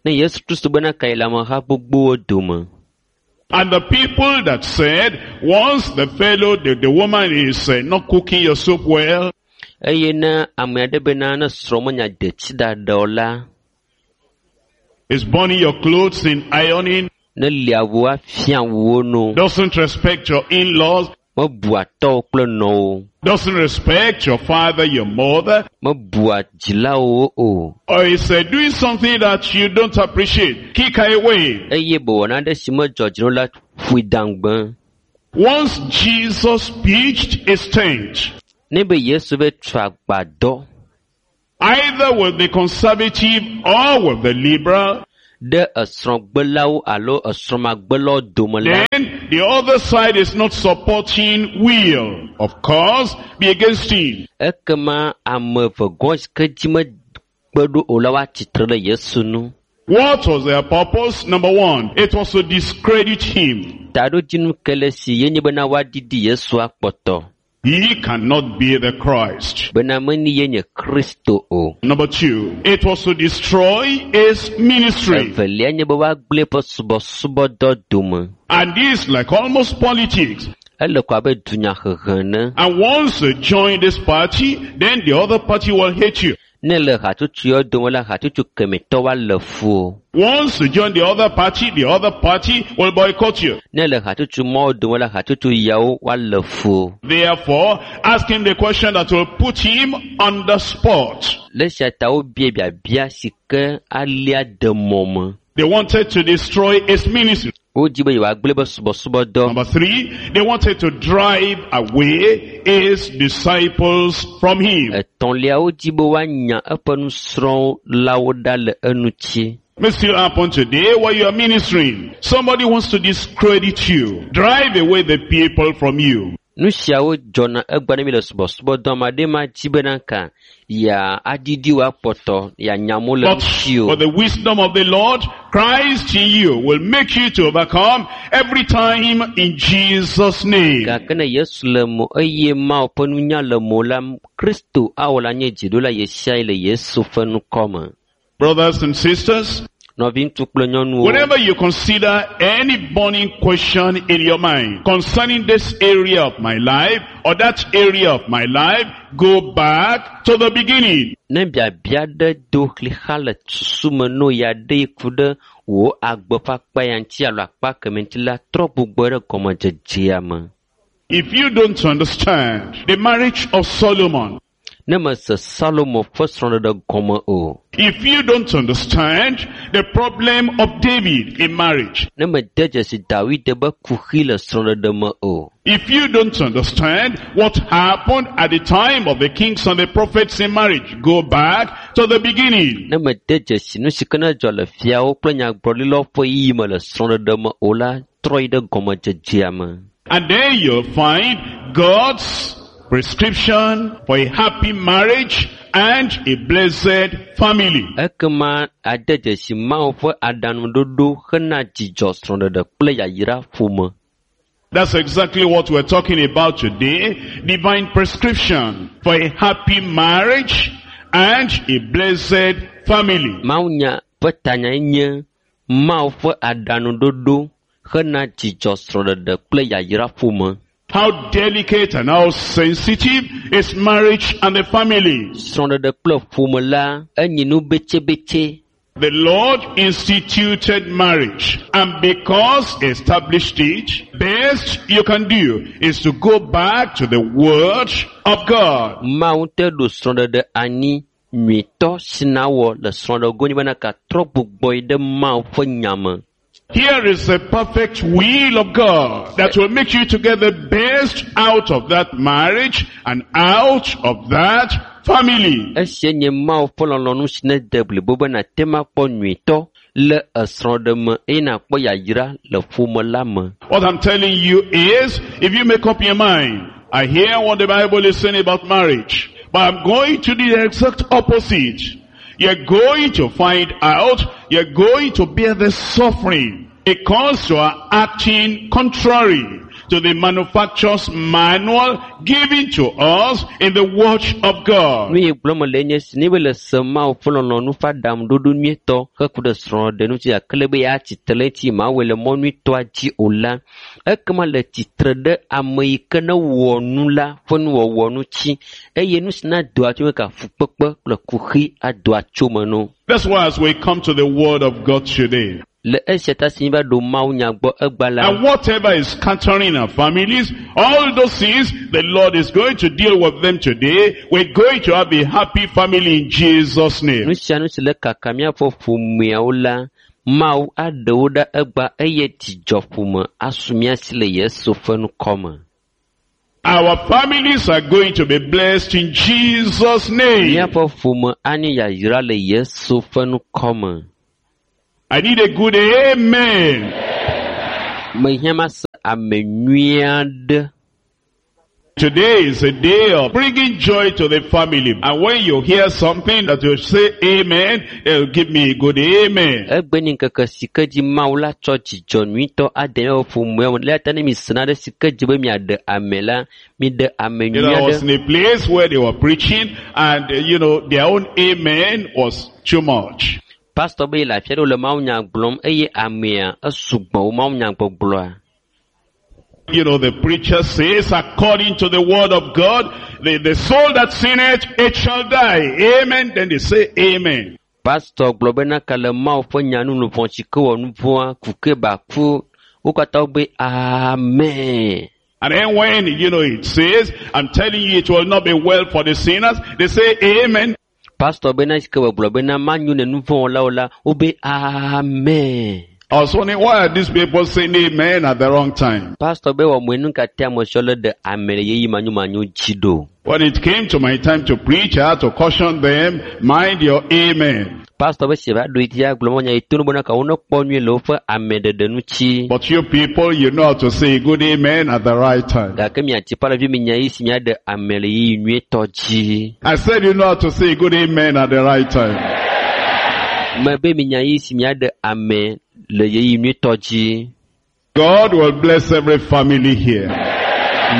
Ne Yesu Kristo bena ka ye le ameha gbogbowo dome. and the people that said, once the fellow, the, the woman is uh, not cooking your soup well, Eye ne ame aɖe bena ne srɔ̃ menya detsi ɖaɖa o la, is burning your clothes in ironing, ne lia wu afia wuwo no, doesn't respect your in-laws, mebua tɔwo kple nɔwo, doesn't respect your father, your mother, mebua dzilawo o. or is uh, doing something that you don't appreciate, kick her away. Eye be wɔna aɖe si medzɔ dzi na o la ƒoe daŋgbe. Once Jesus pitched his tent, Ne be Yesu be tu agbadɔ either with the conservative or with the liberal, ɖe esrɔ̃gbelawo alo esrɔ̃magbelawo dome la, then the other side is not supporting will, of course, be against him. ekema ame eve gɔ̃ si ke dzi mekpe ɖo o la woatsitre ɖe Yesu nu. What was their purpose? Number one, it was to discredit him. Taɖodzinu ke le si ye nye bena woaɖiɖi Yesu akpɔtɔ He cannot be the Christ. bena meni ye nye Kristo o. Number two, it was to destroy his ministry. Evelia nye be woagblẽ eƒe subɔsubɔdɔ dome. And this, like almost politics. Ele ko abe dunyahehe ene. And once you join this party, then the other party will hate you. Ne le hatsotso yawo dome la, hatsotso kemɛtɔ woalé fu o. Once you join the other party, the other party will boycott you. Ne le hatsotso mawo dome la, hatsotso yawo woalé fu o. Therefore, ask him the question that will put him on the spot. Le esia ta wobia biabia si ke alia de mɔ me. They wanted to destroy his ministry. Wodi be yewoagblẽ be subɔsubɔdɔ. Number three, they wanted to drive away his disciples from him. Etɔ̃lia wodi be woanya eƒe nusrɔ̃lawo ɖa le eŋuti. May still happen today while you are ministering. Somebody wants to discredit you, drive away the people from you. Nu siawo dzɔna egbea ne mi le subɔsubɔdɔ ame aɖe ma dzi bena ka ya aɖiɖi wo akpɔtɔ yeanya amewo le But ŋuti o. for the wisdom of the Lord, Christ in you will make you to overcome every time in Jesus' name. Gake ne Yesu le mo eye Mawu ƒe nunya le mo la, Kristo awɔ la nye dziɖula ɣesiaɣi le Yesu ƒe ŋkɔ me. Brothers and sisters, Nɔviŋutsu kple nyɔnuwo, whenever you consider any burning question in your mind concerning this area of my life or that area of my life, go back to the beginning. ne biabia ɖe do xlixa le susu me no ya ɖe ku ɖe wò agbe ƒe akpa ya ŋuti alo akpa kemɛ ŋuti la, trɔ gbugbɔ ɖe gɔmedzedzea me. If you don't understand the marriage of Solomon, Ne mese Salomo ƒe srɔ̃ɖeɖe gɔme o, if you don't understand the problem of David in marriage, ne mede dzesi Dawid be kuxi le srɔ̃ɖeɖe me o, if you don't understand what happened at the time of the kings and the prophets in marriage, go back to the beginning. ne mede dzesi nu si ke ne dzɔ le fiawo kple nyagblɔɖilawo ƒe yiyi me le srɔ̃ɖeɖe me o la, trɔ yi ɖe gɔmedzedzea me. And then you'll find God's prescription for a happy marriage and a blessed family. Ekema ade dzesi Mawu ƒe aɖaŋuɖoɖo hena dzidzɔ srɔ̃ɖeɖe kple yayra ƒome. That's exactly what we're talking about today. Divine prescription for a happy marriage and a blessed family. Mawunya ƒe tanyae nye Mawu ƒe aɖaŋuɖoɖo hena dzidzɔ srɔ̃ɖeɖe kple yayra ƒome. How delicate and how sensitive is marriage and the family. Srɔ̃ɖeɖe kple ƒome la enyi nu betsebetse. The Lord instituted marriage, and because he established it, best you can do is to go back to the Word of God. Mawu ŋutɔe ɖo srɔ̃ɖeɖe anyi nyuitɔ si nawɔ le srɔ̃ɖego nyi bena katrɔ gbugbɔ yi ɖe Mawu ƒe nya me. Here is the perfect will of God that will make you to get the best out of that marriage and out of that family. Esia nye Mawu ƒe lɔlɔ̃nu si nede blibo be nàte ŋu akpɔ nyuitɔ le esrɔ̃ɖe me eye nàkpɔ yayra le ƒome la me. What I'm telling you is, if you make up your mind, I hear what the Bible is saying about marriage, but I'm going to do the exact opposite. You're going to find out, you're going to bear the suffering because you are acting contrary to the manufacturer's manual given to us in the Word of God. Nu yi gblɔm le nye si ne be le se Mawu ƒe lɔlɔ̃nu ƒe aɖaŋuɖoɖo nyuietɔ heku ɖe srɔ̃ɖeɖe ŋuti gake le be yeatsitre ɖe eŋuti mawɔe le mɔ nyuietɔa dzi o la, ekema le tsitre ɖe ame yi ke ne wɔ nu la ƒe nuwɔwɔ ŋuti eye nu si na doa tso me ka fukpekpe kple kuxi adoa tso me no. That's why as we come to the Word of God today, Le esia ta si míva ɖo Mawu nya gbɔ egba la, and whatever is scattering our families, all those things, the Lord is going to deal with them today. We're going to have a happy family in Jesus' name. nu sia nu si le kaka míaƒe ƒomeawo la, Mawu aɖe wo ɖa egba eye dzidzɔƒome asu mía si le Yesu ƒe ŋkɔ me. Our families are going to be blessed in Jesus' name. Míaƒe ƒome anye yayra le Yesu ƒe ŋkɔ me. I need a good amen. Mehiã mase ame nyui aɖe. Today is a day of bringing joy to the family. And when you hear something that will say amen, it'll give me a good amen. Egbe nye ŋkeke si ke dzi Mawu la tsɔ dzidzɔ nyuitɔ ade míaƒe ƒomea me. Eya ta ne mi se nane si ke dzi be miaɖe ame la, miɖe ame You nyui know, I was aɖe. in a place where they were preaching and, uh, you know, their own amen was too much. Pastor be yele afi aɖe wole mawunya gblɔm eye amea esugbɔ wo mawunya gbɔgblɔa. You know, the preacher says, according to the word of God, the, the soul that sinneth, it shall die. Amen. Then they say amen. Pastor gblɔ bena ka le Mawu ƒe nya nu luʋɔ si ke wɔ nu vɔ̃a ku ke ba ku. Wo katã wobe amen. And then when, you know, it says, I'm telling you, it will not be well for the sinners, they say amen. Pastor bena si ke wògblɔ bena manyo ne nu vɔ̃ wɔlawo la, wobe amen. I was wondering, why are these people saying amen at the wrong time? Pastor be wɔ moe nu ka te ame siawo le ɖe ame le ɣeyiɣi manyomanyo dzi ɖo. When it came to my time to preach, I had to caution them, mind your amen. Pastor be si va ɖo edzi agblɔ mɔ nya yi to no bena ka wo nekpɔ nyuie le woƒe ameɖeɖe ŋuti. But you people, you know how to say a good amen at the right time. Gake miatsi ƒe mi nya yi si miaɖe ame le ɣeyiɣi nyuietɔ dzi. I said you know how to say a good amen at the right time. Mebe mi nya yi si miaɖe ame le ɣeyiɣi nyuietɔ dzi. God will bless every family here.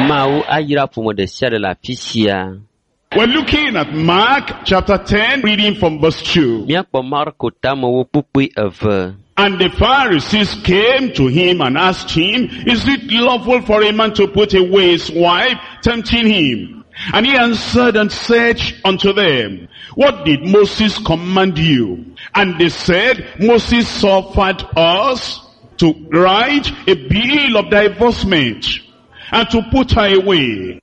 Mawu ayra ƒome ɖe sia ɖe le afi sia. We're looking at Mark chapter ten, reading from verse two. Míakpɔ Marko tamewo kpukpui eve. And the Pharisees came to him and asked him, is it lawful for a man to put away his wife, tempting him? And he answered and said unto them, what did Moses command you? And they said, Moses suffered us to write a bill of divorcement and to put her away.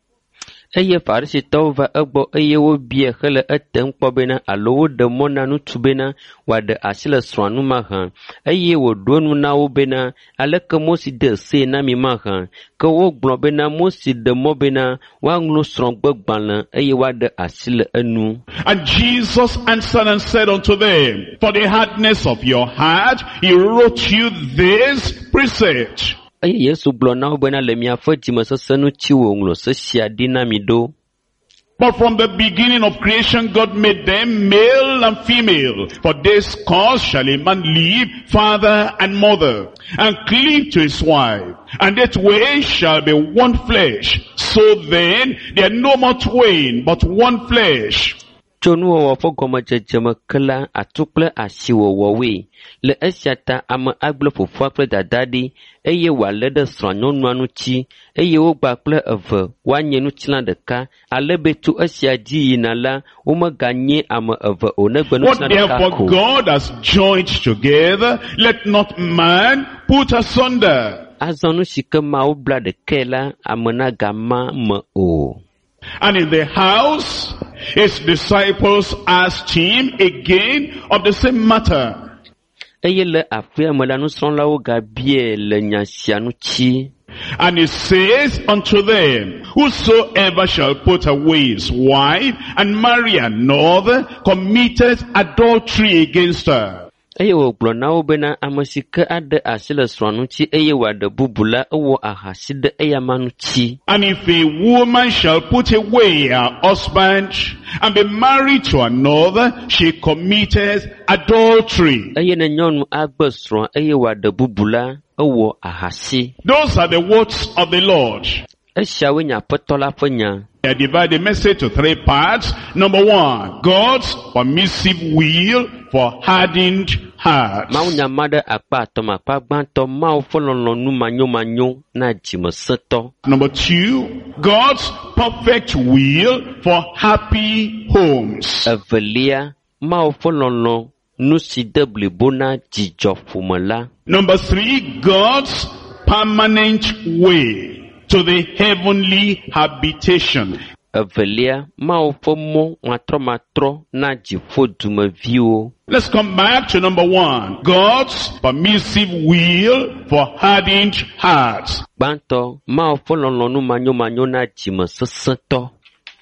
Eye Farisitɔwo va egbɔ eye wobiae hele etem kpɔ bena alo woɖe mɔ na ŋutsu bena wòaɖe asi le srɔ̃a ŋu mahã. Eye wòɖo enu na wo bena aleke Mose de see na mi mahã. Ke wogblɔ bena Mose ɖe mɔ bena woaŋlɔ srɔ̃gbegbalẽ eye woaɖe asi le enu. And Jesus answered and said unto them, for the hardness of your heart, he wrote you this precept. Eye Yesu gblɔ na wo bena le miaƒe dzimesesẽ ŋuti wòŋlɔ se sia ɖi na mi ɖo. But from the beginning of creation, God made them male and female. For this cause shall a man leave father and mother, and cleave to his wife, and that way shall be one flesh. So then, they are no more twain, but one flesh. Tso nuwɔwɔ ƒe gɔmedzedze me ke la, atu kple asi wòwɔ woe. Le esia ta ame agblẽ fofoa kple dadaa ɖi eye wòalé ɖe srɔ̃anyɔnua ŋuti eye wogba kple eve woanye ŋutilã ɖeka ale be tso esia dzi yina la, womeganye ame eve o negbe What ŋutilã ɖeka therefore ko. God has joined together, let not man put asunder. Azɔ nu si ke Mawu bla ɖekae la, ame nagama me o. And in the house, his disciples asked him again of the same matter. Eye le aƒea me la, nusrɔ̃lawo gabiae le nya sia ŋuti. And he says unto them, whosoever shall put away his wife and marry another committeth adultery against her. Eye wògblɔ na wo bena ame si ke aɖe asi le srɔ̃a ŋuti eye wòaɖe bubu la, ewɔ ahasi ɖe eyama ŋuti. And if a woman shall put away her husband and be married to another, she committeth adultery. Eye ne nyɔnu agbe srɔ̃a eye wòaɖe bubu la, ewɔ ahasi. Those are the words of the Lord. Esiawoe nye Aƒetɔ la ƒe nya. I divide the message to three parts. Number one, God's permissive will for hardened hearts. Mawunya ma ɖe akpa atɔ̃ me. Akpa gbãtɔ, Mawu ƒe lɔlɔ̃nu manyomanyo na dzimesẽtɔ. Number two, God's perfect will for happy homes. Evelia, Mawu ƒe lɔlɔ̃ nu si de blibo na dzidzɔƒome la. Number three, God's permanent way to the heavenly habitation. Evelia, Mawu ƒe mɔ matrɔmatrɔ na dziƒo dumeviwo. Let's come back to number one. God's permissive will for hardened hearts. Gbãtɔ, Mawu ƒe lɔlɔ̃nu manyomanyo na dzimesesẽtɔ.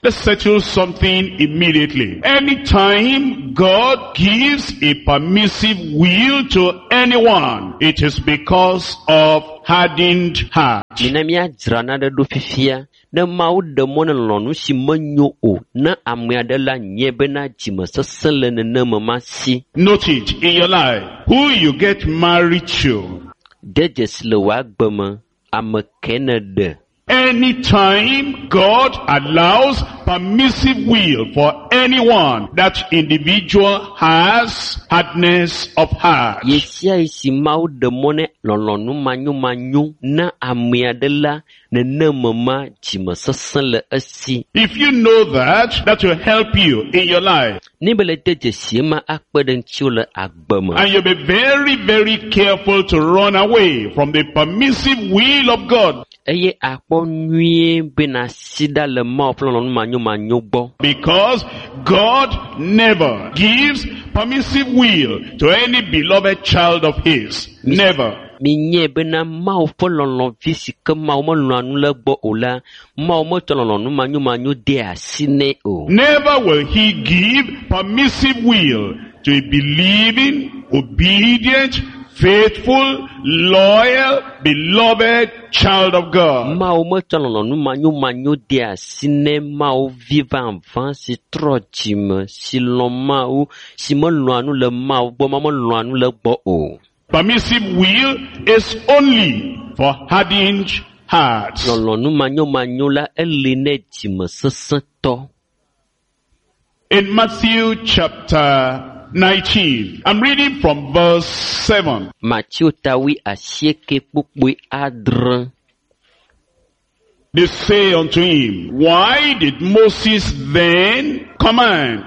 Let's settle something immediately. Anytime God gives a permissive will to anyone, it is because of hardened heart. Mina míadzra naɖe ɖo fifia. Ne Mawu ɖe mɔ ne lɔlɔ̃nu si menyo o na ame aɖe la nye bena dzimesesẽ le nenema ma si. Note it in your life. Who you get married to. De dzesi le wò agbe me, ame ke ne ɖe. Anytime God allows permissive will for anyone, that individual has hardness of heart. Ɣe sia ɣi si Mawu ɖe mɔ ne lɔlɔ̃nu manyomanyo na ame aɖe la, nenema ma dzimesesẽ le esi. If you know that, that will help you in your life. Ne be le de dzesi ema akpe ɖe ŋutiwò le agbe me. And you'll be very, very careful to run away from the permissive will of God. Eye akpɔ nyuie be nàsi ɖa le Mawu ƒe lɔlɔ̃nu manyomanyo gbɔ. Because God never gives permissive will to any beloved child of his. Never. Minyae bena Mawu ƒe lɔlɔ̃vi si ke Mawu melɔ̃a nu le egbɔ o la, Mawu metsɔ lɔlɔ̃nu manyomanyo de asi nɛ o. Never will he give permissive will to a believing, obedient, faithful, loyal, beloved child of God. Mawu metsɔ lɔlɔ̃nu manyomanyo de asi nɛ Mawu vi vavã si trɔ dzime, si lɔ̃ Mawu, si melɔ̃a nu le Mawu gbɔ, Mawu melɔ̃a nu le egbɔ o. Permissive will is only for hardened hearts. Lɔlɔ̃nu manyomanyo la eli nɛ dzimesesẽtɔ. In Matthew chapter nineteen, I'm reading from verse seven. Mateo ta wui asieke kpukpui adre. They say unto him, why did Moses then command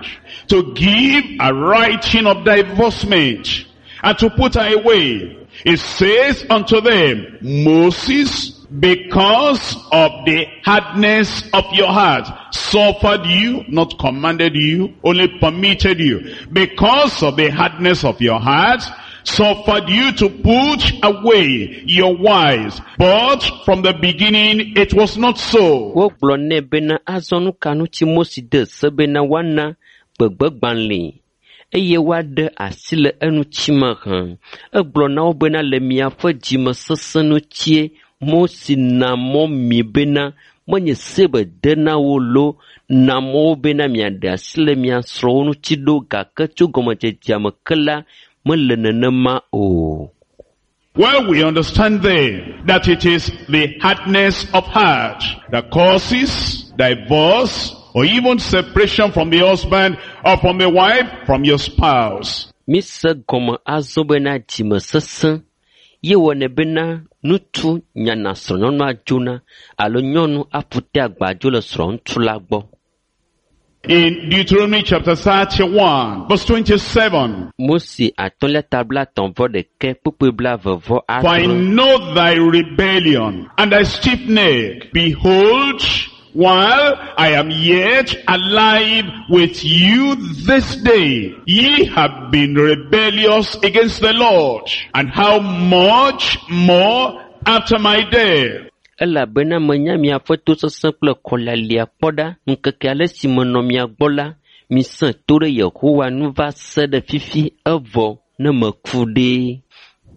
to give a writing of divorcement and to put her away? It says unto them, Moses, because of the hardness of your heart, suffered you, not commanded you, only permitted you. Because of the hardness of your heart, suffered you to put away your wives. But from the beginning it was not so. Wogblɔ nɛ bena azɔ nu ka ŋuti Mose de se bena woana gbegbegbalẽe eye woaɖe asi le eŋuti mahã. Egblɔ na wo bena le miaƒe dzimesesẽ ŋutie Mose na mɔ mi bena menye se be de na wo loo, na mɔ wo bena miaɖe asi le mia srɔ̃wo ŋuti ɖo gake tso gɔmedzedzea me ke la mele nenema o. Well, we understand then that it is the hardness of heart that causes divorce or even separation from the husband or from the wife, from your spouse. Mise gɔme azɔ bena dzimesesẽ ye wɔnɛ bena ŋutsu nyana srɔ̃nyɔnua dzona alo nyɔnu aƒu te agbadzo le srɔ̃ŋutsu la gbɔ. In Deuteronomy chapter thirty-one, verse twenty-seven, Mose atɔ̃lia ta blaetɔ̃ vɔ ɖekɛ kpukpui blaeve vɔ For I adre. know thy rebellion and thy stiff neck. Behold, while I am yet alive with you this day, ye have been rebellious against the Lord. And how much more after my death? Elabena menya miaƒe tosesẽ kple kɔlialia kpɔ ɖa. Ŋkeke ale si menɔ mia gbɔ la, misẽ to ɖe Yehowa ŋu va se ɖe fifi evɔ. ne meku ɖe.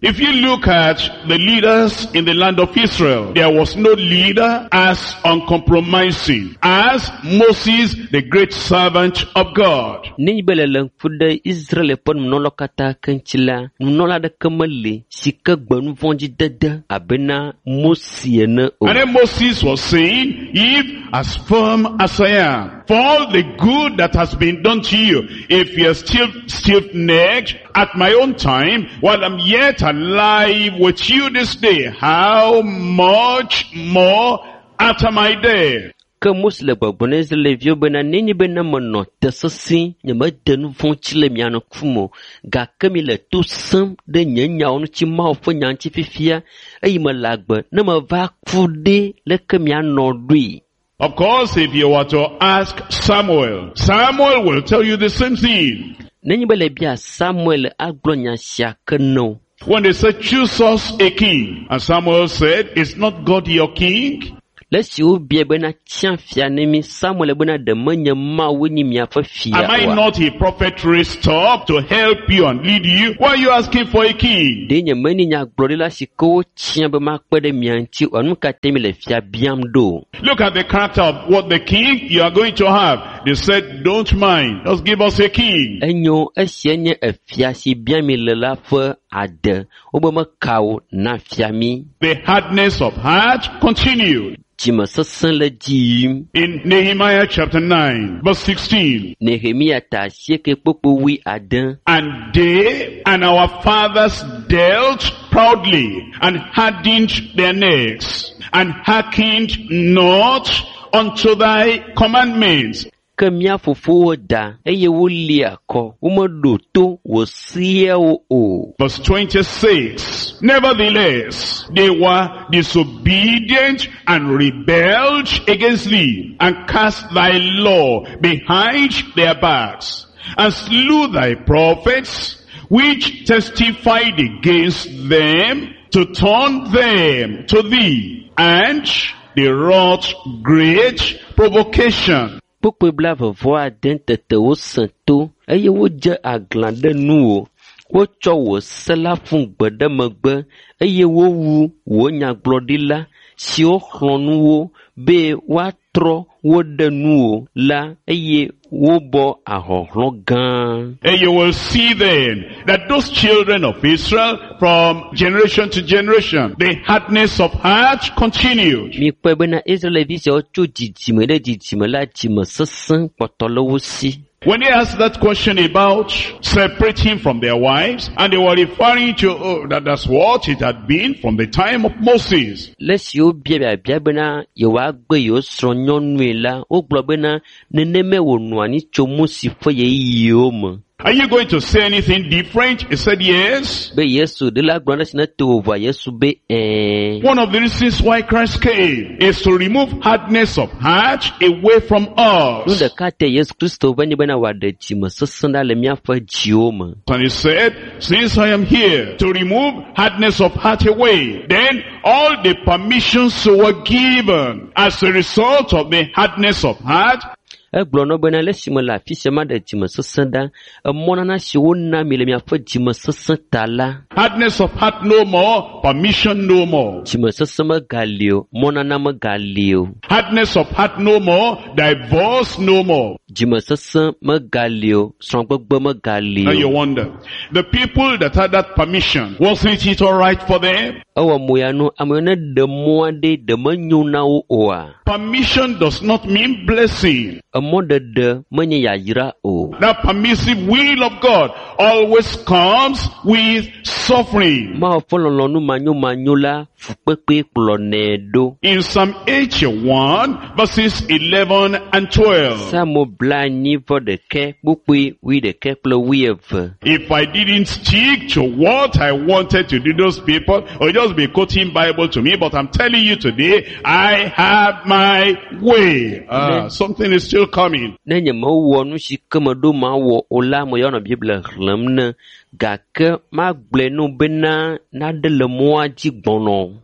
If you look at the leaders in the land of Israel, there was no leader as uncompromising as Moses, the great servant of God. Nenye be le le ŋku ɖe Israel ƒe nunɔlawo katã ke ŋuti la, nunɔla aɖeke meli si ke gbe nu vɔ̃ dzi dede abena Mose ene o. And then Moses was saying, if as firm as I am, for all the good that has been done to you, if you're still stiff-necked at my own time, while I'm yet alive with you this day, how much more after my death? Ke Mose le gbɔgblɔm na Israelviwo bena nenye be ne menɔ te sesĩ, nyemede nu vɔ̃ ŋuti le mia ŋkume o, gake mi le to sẽm ɖe nye nyawo ŋuti Mawu ƒe nya ŋuti fifia eye mele agbe ne meva ku ɖe leke mianɔ ɖoe. Of course, if you were to ask Samuel, Samuel will tell you the same thing. Nenye be le bia Samuel agblɔ nya sia ke ne wo. When they said, choose us a king, and Samuel said, is not God your king? Le esi wobia bena tia fia ne mi, Samuel bena ɖe menye Mawu nye miaƒe fia Am I oa? not a prophet raised up to help you and lead you? Why are you asking for a king? Ɖe nye menye nyagblɔɖila si ke wotia be makpe ɖe mia ŋuti oa? Nu ka te mi le fia biam ɖo? Look at the character of what the king you are going to have. They said, don't mind. Just give us a king. Enyo esia nye efia si biam mi le la ƒe ade. Wobe meka o na fia mi. The hardness of heart continued. Dzimesesẽ le dzi yim. In Nehemiah chapter nine, verse sixteen. Nehemia ta asieke kpokpo wui ade. And they and our fathers dealt proudly and hardened their necks and hearkened not unto thy commandments. Ke mía fofowo da eye wolia kɔ. Womeɖo to wò seawo o. Verse twenty-six. Nevertheless, they were disobedient and rebelled against thee, and cast thy law behind their backs, and slew thy prophets, which testified against them to turn them to thee, and they wrought great provocation. Kpukpui blaeve vɔ ade tete wosẽ to eye wodze aglã ɖe nuwò. Wotsɔ wò se la ƒu gbe ɖe megbe eye wowu wò nyagblɔɖila siwo xlɔ̃ nu wo be woatrɔ wo ɖe nuwò la eye wobɔ ahɔhlɔ̃ gã. And you will see then that those children of Israel from generation to generation, the hardness of heart continued. Mikpɔe bena Israelvi siawo tso dzidzime ɖe dzidzime la dzime sesẽ kpɔtɔ le wo si. When they asked that question about separating from their wives, and they were referring to, oh, that that's what it had been from the time of Moses. Le esi wobia biabia bena yewoagbe yewo srɔ̃ nyɔnue la, wogblɔ bena nenemae wònɔ anyi tso Mose ƒe ɣeyiɣiwo me. Are you going to say anything different? He said yes. Be Yesu ɖe la gblɔ ɖe si ne to wò vɔa Yesu be ɛ̃. One of the reasons why Christ came is to remove hardness of heart away from Nu us. ɖeka te Yesu Kristo va nye bena wòaɖe dzime sesẽ ɖa le míaƒe dziwo me. And he said, since I am here to remove hardness of heart away, then all the permissions were given as a result of the hardness of heart. Egblɔ na wo bena le esime le afi sia maɖe dzime sesẽ ɖa, emɔnana si wona mi le miaƒe dzime sesẽ ta la, Hardness of heart no more, permission no more. dzime sesẽ megali o, mɔnana megali o. Hardness of heart no more, divorce no more. Dzime sesẽ megali o, srɔ̃gbegbe megali Now you o. wonder, the people that had that permission, wasn't it all right for them? Ewɔ mo ya nu, ame yiwo ne ɖe mɔ aɖe ɖe menyo na wo oa? Permission does not mean blessing. Emɔɖeɖe menye yayra o. That permissive will of God always comes with suffering. Mawu ƒe lɔlɔ̃nu manyomanyo la, fukpekpe kplɔnɛ ɖo. In Psalm eighty-one, verses eleven and twelve. Psalmo blaenyi vɔ ɖekɛ kpukpui wuiɖekɛ kple wuieve. If I didn't stick to what I wanted to do, those people will just be quoting Bible to me, but I'm telling you today, I have my way. Ah, something is still coming. Ne nye mewɔ nu si ke meɖo mawɔ o la, ame yawo nɔ Biblia xlẽm ne gake magblɔe no bena naɖe le mɔa dzi gbɔnɔ.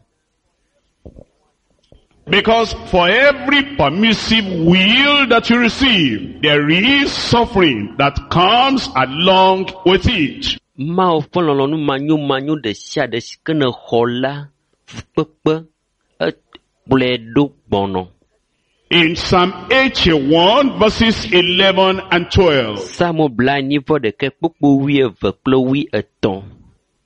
Because for every permissive will that you receive, there is suffering that comes along with it. Mawu ƒe lɔlɔ̃nu manyomanyo ɖe sia ɖe si ke nèxɔ la, fukpekpe ekplɔe ɖo gbɔnɔ. In Psalm eighty-one verses eleven and twelve. Psalmo blaenyi vɔ ɖeke kpukpu wuieve kple wuietɔ̃.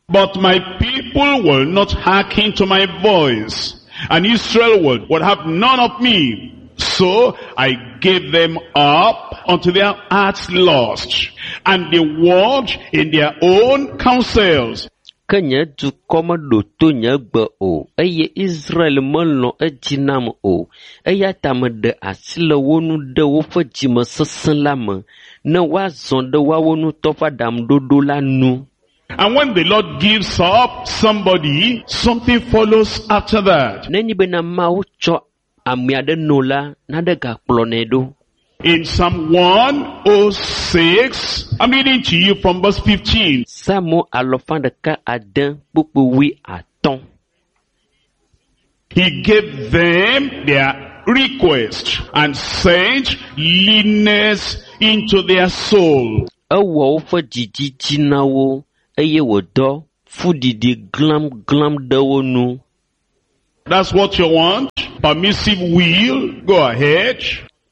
But my people will not hearken to my voice, and Israel will, will have none of me. So I gave them up unto their hearts' lust, and they walked in their own counsels. Ke nye dukɔ meɖo to nye gbe o, eye Israel melɔ̃ edzi nam o. Eya ta meɖe asi le wo ŋu ɖe woƒe dzimesesẽ la me, ne woazɔ ɖe woawo ŋutɔ ƒe aɖaŋuɖoɖo la nu. And when the Lord gives up somebody, something follows after that. Nenye bena Mawu tsɔ ame aɖe no la, naɖe gakplɔnɛ ɖo. In Psalm one oh six, I'm reading to you from verse fifteen. Psalmo alɔfa ɖeka ade kpukpu wui atɔ̃. He gave them their request and sent leanness into their soul. Ewɔ woƒe dzidzidzi na wo eye wòdɔ fuɖiɖi glamglam ɖe wo nu. That's what you want? Permissive will? Go ahead.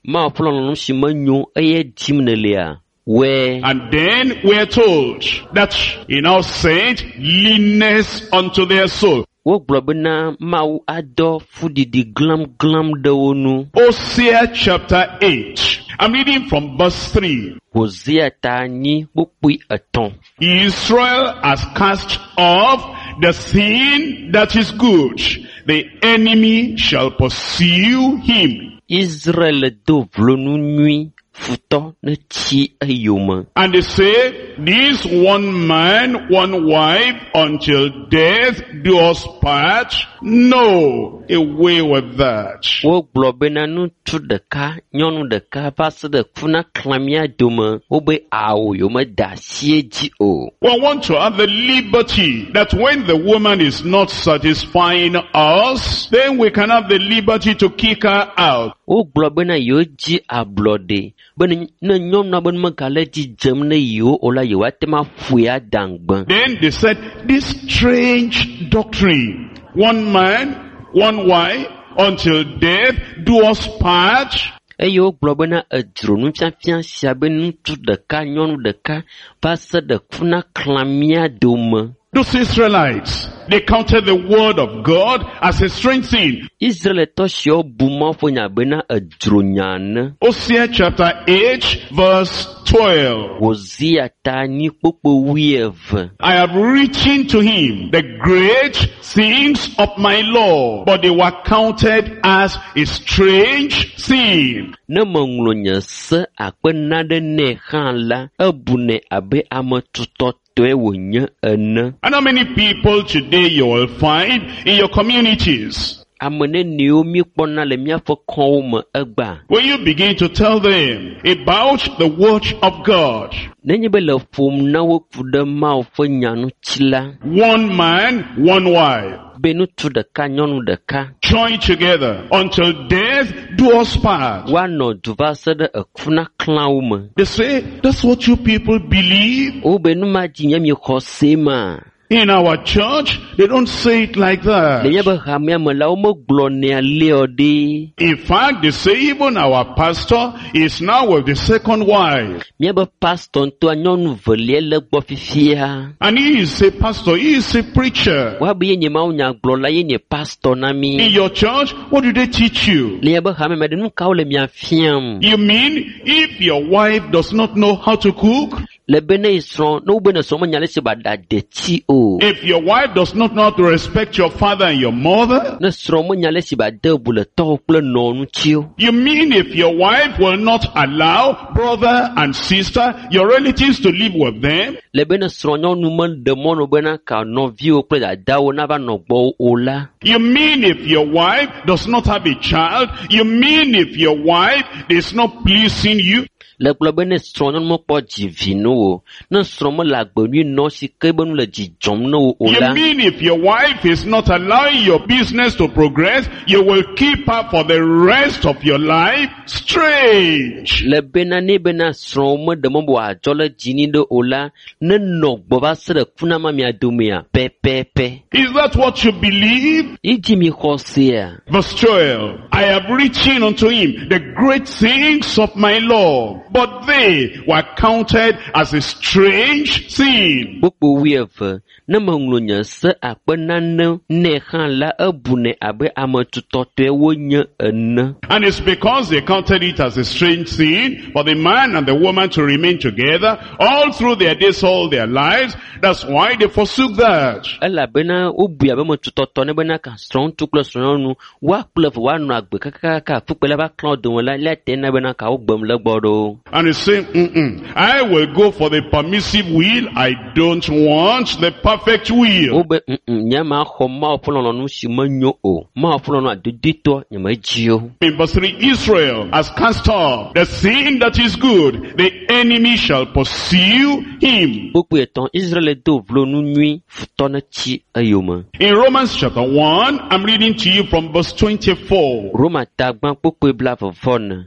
Mawu ƒe lɔlɔ̃nu si menyo eye dim nèlea, wɔe. And then we are told that he now sent leanness unto their soul. Wogblɔ bena Mawu adɔ fuɖiɖi glamglam ɖe wo nu. Hosea chapter eight. I'm reading from verse three. Hosea ta enyi kpukpui etɔ̃. Israel has cast off the thing that is good. The enemy shall pursue him. Israel do vlo nu nyui, futɔ netsi eyome. And they say, this one man, one wife, until death do us part. No, away with that. Wogblɔ bena ŋutsu ɖeka, nyɔnu ɖeka va se ɖe ku na xlã mía dome. Wobe awo yewomeda asi edzi o. We want to have the liberty that when the woman is not satisfying us, then we can have the liberty to kick her out. Wogblɔ bena yewodzi ablɔɖe be ne nyɔnua be megale dzi dzem ne yewo o la, yewoate ŋu aƒoe ada ŋugbe. Then they said, this strange doctrine, one man, one wife, until death do us part. Eye wogblɔ bena edzro nufiafia sia be ŋutsu ɖeka, nyɔnu ɖeka va se ɖe ku na xlã mía dome. Those Israelites, they counted the word of God as a strange thing. Israelitɔ siawo bu Mawu ƒe nya bena edzro nya ene. Hosea chapter eight verse twelve. Hosea ta enyi kpukpu wuieve. I have written to him the great things of my law, but they were counted as a strange thing. Ne meŋlɔ nye se akpe naɖe nɛ hã la, ebunɛ abe ame tutɔtɔe wònye ene. And how many people today you will find in your communities? Ame neniwo míekpɔna le míaƒe kɔwo me egbea. When you begin to tell them about the word of God, Nenye be le ƒom na wo ku ɖe Mawu ƒe nya ŋuti la, one man, one wife, be ŋutsu ɖeka, nyɔnu ɖeka, join together until death do us part. woanɔ du va se ɖe eku na xlãwo me. They say, that's what you people believe. Wobe nu ma dzi nye miexɔ se ma. In our church, they don't say it like that. Le míaƒe hamea me la, womegblɔnɛ alea ɖe. In fact, they say even our pastor is now with the second wife. Míaƒe pastor ŋutɔa nyɔnu velia le gbɔ fifia. And he is a pastor, he is a preacher. Woabe ye nye mawunyagblɔla, ye nye pastor na mí. In your church, what do they teach you? Le míaƒe hame me ɖe, nu kawo le mia fiam? You mean if your wife does not know how to cook? Le be ne srɔ̃, ne wobe ne srɔ̃ menya ale si ba ɖa detsi o. If your wife does not know how to respect your father and your mother? Ne srɔ̃ menya ale si ba de bu le tɔwo kple nɔwo ŋuti o. You mean if your wife will not allow brother and sister, your relatives to live with them? Le be ne srɔ̃nyɔnu meɖe mɔnu bena ka nɔviwo kple dadawo nava nɔ gbɔwò o la. You mean if your wife does not have a child? You mean if your wife is not pleasing you? Le gblɔ be ne srɔ̃nyɔnu mekpɔ dzi vi no o, ne srɔ̃ mele agbe nyui nɔ si ke be nu le dzi dzɔm ne wo o You la, mean if your wife is not allowing your business to progress, you will keep her for the rest of your life? Strange. le bena ne bena srɔ̃wo meɖe mɔ be wòadzɔ le dzi ni ɖe o la, nenɔ gbɔ va se ɖe kuna ma mia domea pɛpɛpɛ. Is that what you believe? Idzi mi xɔ sea. Verse twelve, I have written unto him the great things of my law, but they were counted as a strange thing. Kpukpu wuieve, ne meŋlɔ nye se akpe nane nɛ hã la, ebunɛ abe ame tutɔtɔe wonye ene. And it's because they counted it as a strange thing for the man and the woman to remain together all through their days, all their lives. That's why they forsook that. Elabena wobui abe ame tutɔtɔ ne bena ka srɔ̃ŋutsu kple srɔ̃nyɔnu woakple eve woanɔ agbe kakakaka fukpe la va klã wo dome la, lea te na bena ka wogbem le gbɔ ɖo. And he's saying, Mm-mm, I will go for the permissive will. I don't want the perfect will. Wobe mm nye ma xɔ Mawu ƒe lɔlɔ̃nu si menyo o. Mawu ƒe lɔlɔ̃nu adodoetɔ nye medzi o. In verse three, Israel has cast off the thing that is good. The enemy shall pursue him. Kpukpui etɔ̃, Israel do vlo nu nyui, futɔ netsi eyome. In Romans chapter one, I'm reading to you from verse twenty-four. Roma ta gbã kpukpui blaeve vɔ ene.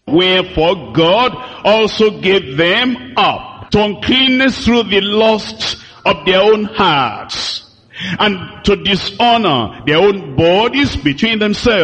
Wherefore God also gave them up to uncleanness through the lusts of their own hearts, and to dishonor their own bodies between themselves,